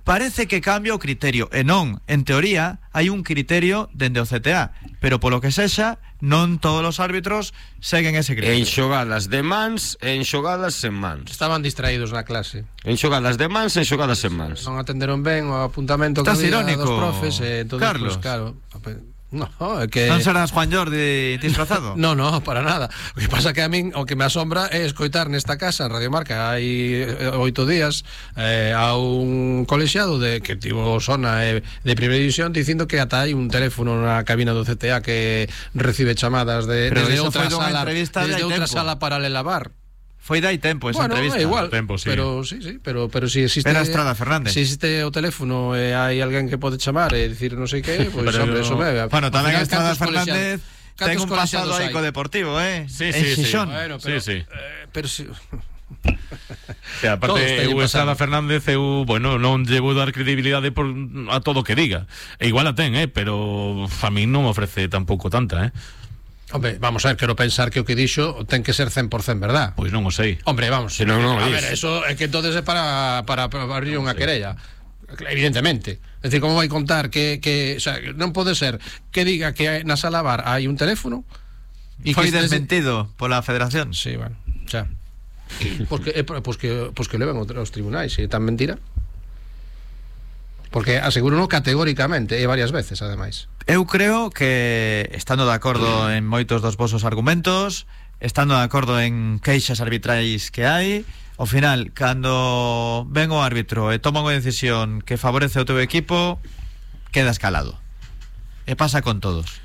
Parece que cambia o criterio, e non, en teoría, hai un criterio dende o CTA, pero polo que sexa, non todos os árbitros seguen ese criterio. En xogadas de mans e en xogadas sen mans. Estaban distraídos na clase. En xogadas de mans e en xogadas sen mans. Non atenderon ben o apuntamento que Estás había irónico, dos profes, entonces, Carlos. pues, claro, no, é que Non serás Juan Jordi disfrazado? No, para nada. O que pasa que a min o que me asombra é escoitar nesta casa en Radio Marca hai 8 días a un colexiado que tivo zona de primeira división dicindo que ata hai un teléfono na cabina do CTA que recibe chamadas Pero desde iso outra foi dunha sala, entrevista de desde hai outra tempo. sala paralela bar. Foi dai tempo esa bueno, entrevista. igual, Tempo, sí. pero si existe Era Estrada Fernández. Si existe o teléfono e hai alguén que pode chamar e dicir non sei que, pois Pero hombre, eso me. Bueno, tamén Al final, Estrada Fernández ten un pasado aí co Deportivo, Sí, en sí, sí. Xixón. Bueno, pero, Sí. Pero si O sea, Todos aparte, teñen eu Estrada pasado. Fernández, bueno, non llevo dar credibilidade a todo o que diga. E igual a ten, pero a mí non me ofrece tampouco tanta, Hombre, vamos a ver, quero pensar que o que dixo ten que ser 100% verdad. Pois non o sei. Hombre, vamos. Si non, non o a dis. ver, eso é que entonces é para abrir unha querella. Evidentemente. É dicir, como vai contar que o sea, non pode ser que diga que na sala bar hai un teléfono E foi desmentido pola Federación. Sí, bueno, xa. Pues que levan aos tribunais, se é tan mentira. Porque aseguro categóricamente e varias veces, ademais. Eu creo que estando de acordo en moitos dos vosos argumentos, estando de acordo en queixas arbitrais que hai, ao final, cando ven o árbitro e toma unha decisión que favorece o teu equipo, queda escalado. E pasa con todos.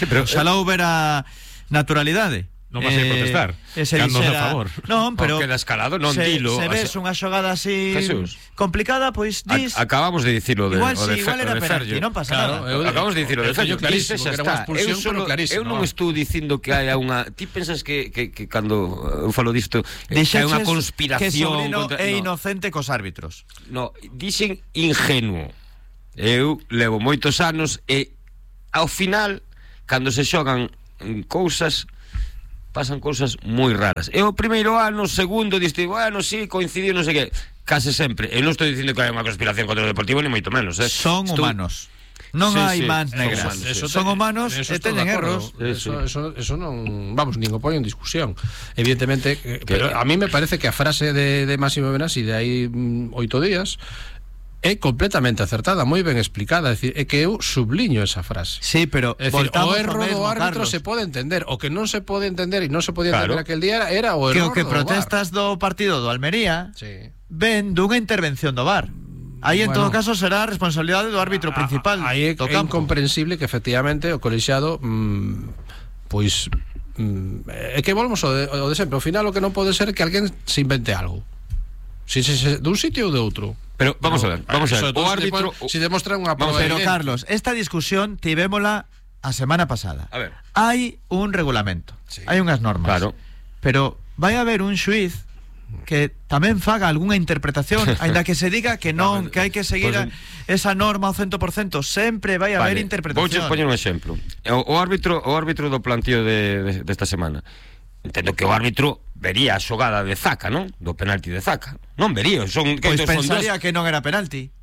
Sí, pero Xalá houbera naturalidade. Non vas a ir protestar, cando a favor. Non, pero queda escalado, non se, dilo. se ves unha xogada así Jesús, complicada, pois dis acabamos de dicirlo de igual, o de, igual era penalti, non pasa Claro, nada. Acabamos de dicirlo de Fello, clarísimo, xa que era unha está. expulsión, pero clarísimo, eu non estou dicindo que haya unha. Ti pensas que cando eu falo disto hai Dixeches unha conspiración que Sobrino contra... é no. inocente cos árbitros. No, dixen ingenuo. Eu levo moitos anos e ao final, cando se xogan cousas, pasan cousas moi raras. E o primeiro ano, segundo, diste, bueno, sí, coincidiu, non sei que, case sempre. Eu non estou dicindo que hai unha conspiración contra o Deportivo, ni moito menos, Son humanos. Non Sí, hai sí, mans son negras. humanos. Son humanos e teñen erros. Eso non, vamos, nin o poño en discusión. Evidentemente, pero a mí me parece que a frase de Máximo Benassi de aí 8 días é completamente acertada, moi ben explicada, é dicir, é que eu subliño esa frase. Sí, pero É dicir, voltamos o erro ao mesmo, do árbitro Carlos. se pode entender, o que non se pode entender e non se podía Claro. entender aquel día era o Que erro o que do protestas do partido do Almería VAR. Sí. ven dunha intervención do VAR. Aí en Bueno. todo caso será a responsabilidade do árbitro principal Aí é do campo. incomprensible que efectivamente o colexiado pois é que volvemos ao de sempre. Ao final o que non pode ser é que alguén se invente algo. Si dun sitio ou de outro. Pero vamos a ver. O árbitro si demostra unha Vamos prova a ver, Pero evidente. Carlos, esta discusión tivémola a semana pasada. A ver. Hai un regulamento, Sí. hai unhas normas. Claro. Pero vai haber un xuiz que tamén faga algunha interpretación, aínda que se diga que non, que hai que seguir esa norma ao 100%, sempre vai haber interpretación. Vouche poñer un exemplo. O árbitro do plantío desta semana. Entendo que o árbitro vería a xogada de Zaca, non? Do penalti de Zaca. Non vería, Pois pensaría que non era penalti.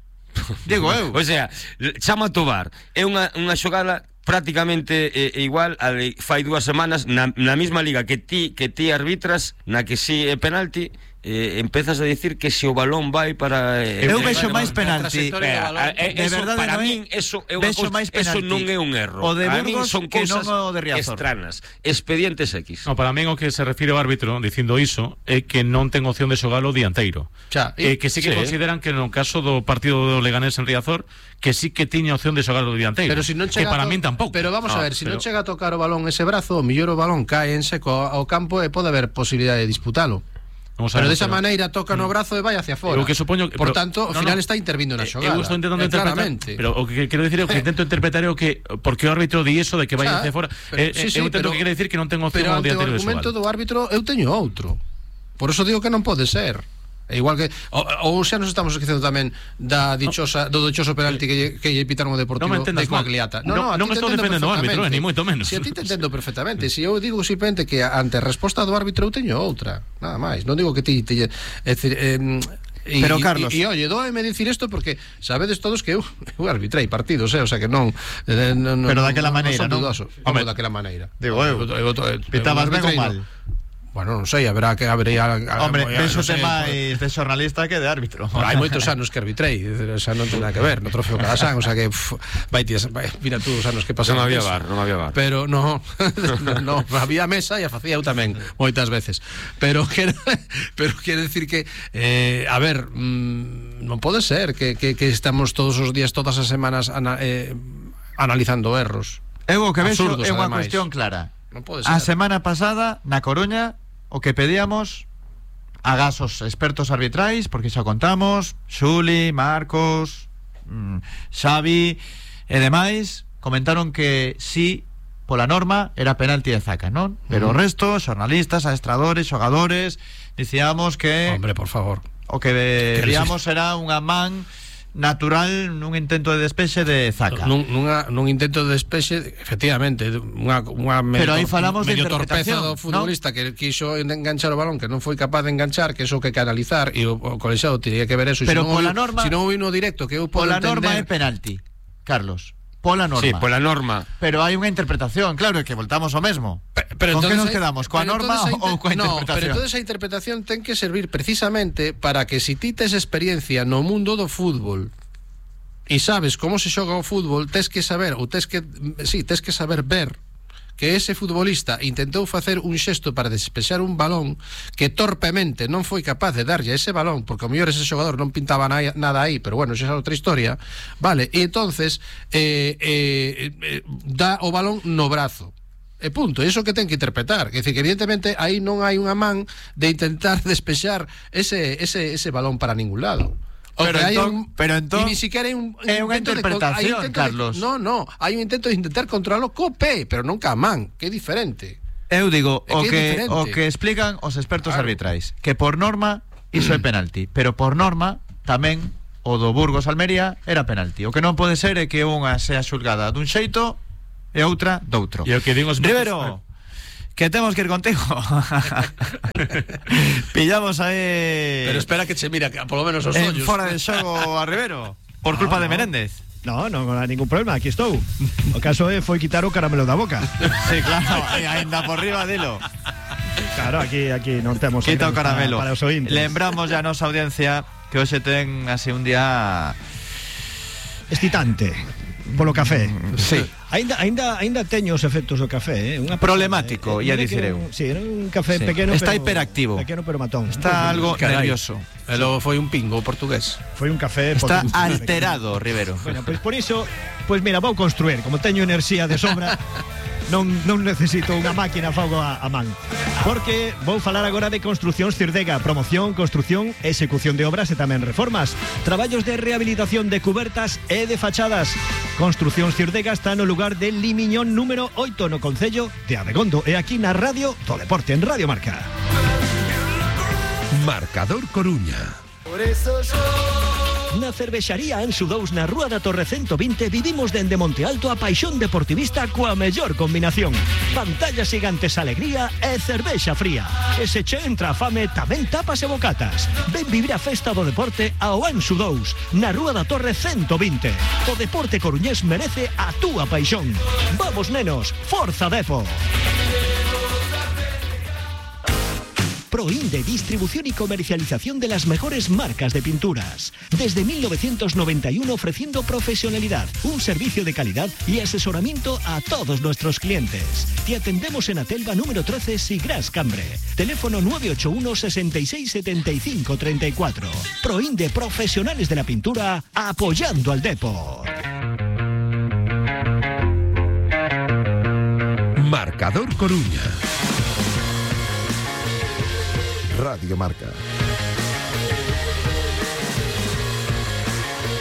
Digo eu. O sea, chama a Tobar. É unha xogada prácticamente igual a de fai 2 semanas na mesma liga que ti arbitras, na que si é penalti. Empezas a dicir que se o balón vai para eu vexo máis penalti. De verdade, para non é? min eso é Vexo unha máis cousa, eso penalti. non é un erro. O de Para min Burgos son que non cousas o de Riazor. extranas, expedientes X. No, para min o que se refire ao árbitro dicindo iso é que non ten opción de xogalo dianteiro. Xa, Que sí que consideran que no caso do partido do Leganés en Riazor que sí que tiña opción de xogalo dianteiro. Pero si non que chega para min tampouco. Pero vamos a ver, si non pero- chega a tocar o balón ese brazo, o mellor o balón cae en seco ao campo e pode haber posibilidade de disputalo. Vamos a Pero ver, desa maneira toca no brazo e vai hacia fora. Eu que supoño que- Por pero- tanto, ao no, final no. está intervindo na xogada. Eu estou intentando interpretar, claramente. pero o que quero dicir é o que intento interpretar é o que porque o árbitro di eso de que vai Xa, hacia fora. sí, Eu entendo que quere dicir que non ten opción pero ao ante o dianteiro de argumento xogalo. do árbitro eu teño outro. Por eso digo que non pode ser. É igual que ou xa nos estamos esquecendo tamén do dichoso penalti que lle pitaron o Deportivo Non me entendas de Coagliata. mal. Non ti te estou entendo defendendo o árbitro, perfectamente. ni moito menos. Si a ti te entendo perfectamente. Si eu digo simplemente que ante a resposta do árbitro eu teño outra, nada máis. Non digo que ti é dicir, Pero, Carlos, e oye, dóeme dicir isto porque sabedes todos que eu arbitrei partidos, o sea que non Pero daquela maneira, non? Como daquela maneira. Digo eu. Pitabas ben ou arbitrei, mal? Bueno, non sei, habería Hombre, non penso sei, máis de xornalista que de árbitro. Bueno, hai moitos anos que arbitrei, o sea, non ten nada que ver, no trofeo Calasan, o sea que mira tú os anos que pasaron. Non había bar. Pero no, había mesa e a facía eu tamén moitas veces. Pero quero decir que a ver, non pode ser que estamos todos os días, todas as semanas analizando erros. Eu o que vexo Absurdos, é unha ademais. cuestión clara. Non pode A ser. semana pasada, na Coruña, o que pedíamos, agás os expertos arbitrais, porque xa contamos, Xuli, Marcos, Xavi e demais comentaron que sí, pola norma era penalti de Zaka, non? Pero o resto, xornalistas, adestradores, xogadores, dicíamos que hombre, por favor, o que veríamos era unha man natural nun intento de despexe de Zaka. Nun intento de despexe, efectivamente, pero aí falamos de medio torpeza interpretación do futbolista, ¿no? Que quiso enganchar o balón, que non foi capaz de enganchar, que eso que canalizar, e o colexiado tiña que ver eso. Pero pola norma, si non vino directo, que eu podo pola entender. norma é penalti, Carlos. Pola norma. Sí, pola norma. Pero hai unha interpretación, claro, é que voltamos ao mesmo. Pero ¿con que nos hai, quedamos? Coa norma ou coa interpretación? No, pero entonces a interpretación ten que servir precisamente para que si ti tes experiencia no mundo do fútbol e sabes como se xoga o fútbol, tes que saber ver que ese futbolista intentou facer un xesto para despexar un balón que torpemente non foi capaz de darlle ese balón, porque ao mellor ese xogador non pintaba nada aí, pero bueno, xa é outra historia, vale, e entonces dá o balón no brazo. E punto, iso que ten que interpretar. Quer dizer, que evidentemente aí non hai unha man de intentar despexar ese balón para ningún lado. Pero entón ni siquiera hai un é unha interpretación, Carlos. No, hai un intento de intentar controlarlo co pé, pero non ca man, que é diferente. Eu digo, o que explican os expertos arbitrais, que por norma iso é penalti, pero por norma tamén o do Burgos Almería era penalti. O que non pode ser é que unha sea xulgada dun xeito e outra doutro. E o que digo Rivero, que temos que ir contigo. Pillamos aí. Pero espera que che mira, que por lo menos os ollos. Fora de xogo a Rivero, por culpa de Menéndez. No hai ningún problema, aquí estou. O caso foi quitar o caramelo da boca. Sí, claro, ainda por riba dilo. Claro, aquí non temos quita o caramelo. Para os ointes. Lembramos ya a nosa audiencia que hoxe ten así un día excitante polo café. Sí. Ainda teño os efectos do café, unha problemático, ia dicir eu. Sí, era un café pequeno, está pero hiperactivo. Pequeno pero matón. Está algo nervioso. E logo foi un pingo portugués. Foi un café está alterado, Rivero. Bueno, pois por iso, pois mira, vou construir, como teño enerxía de sobra. Non necesito unha máquina fago a man. Porque vou falar agora de Construcións Cirdega. Promoción, construción, execución de obras e tamén reformas. Traballos de rehabilitación de cubertas e de fachadas. Construcións Cirdega está no lugar de Limiñón número 8 no concello de Abegondo. E aquí na Radio do Deporte, en Radio Marca. Marcador Coruña. Por eso na cervexaría Anxo 2 na Rúa da Torre 120 vivimos dende Monte Alto a paixón deportivista coa mellor combinación. Pantallas gigantes, alegría e cervexa fría. E se che entra a fame tamén tapas e bocatas. Ven vivir a festa do deporte ao Anxo 2 na Rúa da Torre 120. O deporte coruñés merece a túa paixón. Vamos nenos, forza Depo. Proinde, distribución y comercialización de las mejores marcas de pinturas. Desde 1991 ofreciendo profesionalidad, un servicio de calidad y asesoramiento a todos nuestros clientes. Te atendemos en Atelva número 13, Sigras Cambre. Teléfono 981 66 75 34. Proinde, profesionales de la pintura, apoyando al Depor. Marcador Coruña. Radio Marca.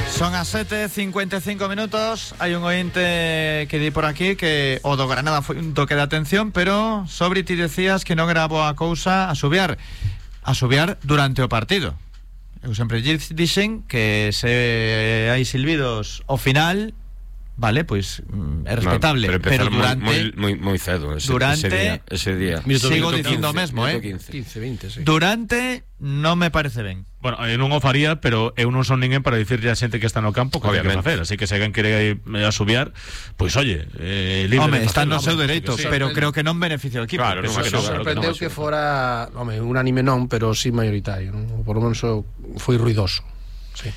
Son as 7:55 minutos. Hai un ointe que di por aquí que o do Granada foi un toque de atención, pero sobre ti decías que non era boa cousa asubiar durante o partido. Eu sempre dixen que se hai silbidos ao final, vale, pois é respetable, no, pero durante moi cedo ese día. Sigo dicindo o mesmo, 15, 20, sí. Durante non me parece ben. Bueno, eu non o faría, pero eu non son ninguén para dicirlle a xente que está no campo que hai que facer, así que se alguén quere asubiar, pois oye, libre. Home, está no seu dereito, sí, pero creo que non beneficia o equipo. Claro, non sorprendeu que fora, home, unánime non, pero sí mayoritario, non? Por lo menos foi ruidoso. Sí.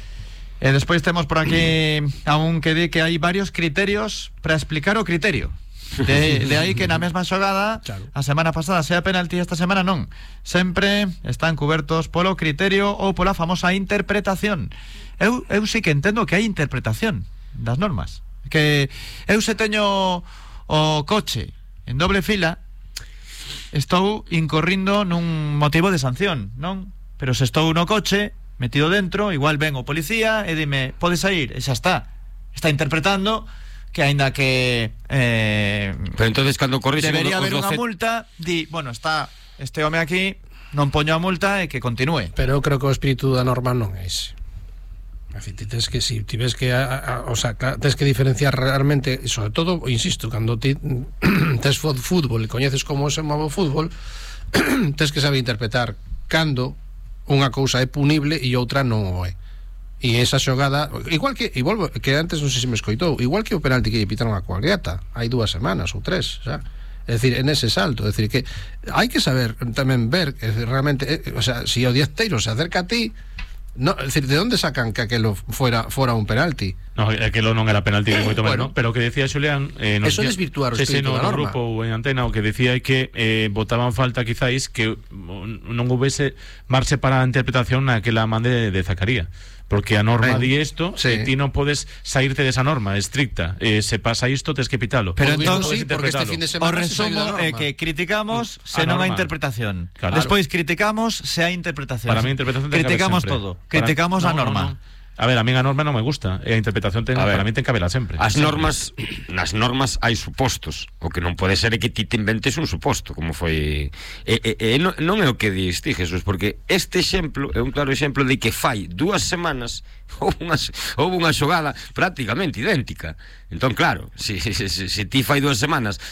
E despois temos por aquí a un que di que hai varios criterios para explicar o criterio. De aí que na mesma xogada, claro, a semana pasada sea penalti, esta semana non. Sempre están cubertos polo criterio ou pola famosa interpretación. Eu sí que entendo que hai interpretación das normas. Que eu se teño o coche en doble fila, estou incorrindo nun motivo de sanción, non? Pero se estou no coche metido dentro, igual ven o policía e dime, podes sair, e xa está interpretando que aínda que pero entonces cando corrixen debería haber unha multa, di, bueno, está este home aquí, non poño a multa e que continúe. Pero eu creo que o espírito da norma non é ese. Tens que, si ves que o sea, tens que diferenciar realmente, e sobre todo, insisto, cando ti tes fútbol e coñeces como se move o fútbol, tens que saber interpretar cando unha cousa é punible e outra non o é. E esa xogada, igual que, e volvo, que antes non sei se me escoitou, igual que o penalti que lle pitaron a Cuagliata hai 2 semanas ou 3, xa. É dicir, en ese salto, é dicir, que hai que saber tamén ver que realmente, o sea, si o dianteiro se acerca a ti, no, é dicir, de onde sacan que aquelo fora un penalti? No, aquelo non era penalti moito menos, pero o que decía Xulián, eso desvirtuar o espírito da norma. Grupo ou en antena, o que decía é que botaban falta quizáis que non houvese marxe para a interpretación naquela man de Zacaría, porque a norma di isto, sí. Ti non podes saírte desa norma estricta, se pasa isto tes que pitalo. Pero entón, sí, porque este fin de semana o resumo é que criticamos se non hai interpretación, claro. Despois criticamos se hai interpretación. Para mí a interpretación criticamos todo, criticamos a norma. A ver, a mí a norma non me gusta, e a interpretación para mí ten que habela sempre. As normas, nas normas hai supostos. O que non pode ser é que ti te inventes un suposto, como foi non é o que dis ti, Jesús, porque este exemplo é un claro exemplo de que fai 2 semanas houve unha xogada prácticamente idéntica. Entón, claro, se ti fai 2 semanas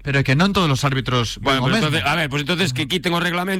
pero é que non todos os árbitros bueno, pues entonces, a ver, pues entonces que quiten o reglamento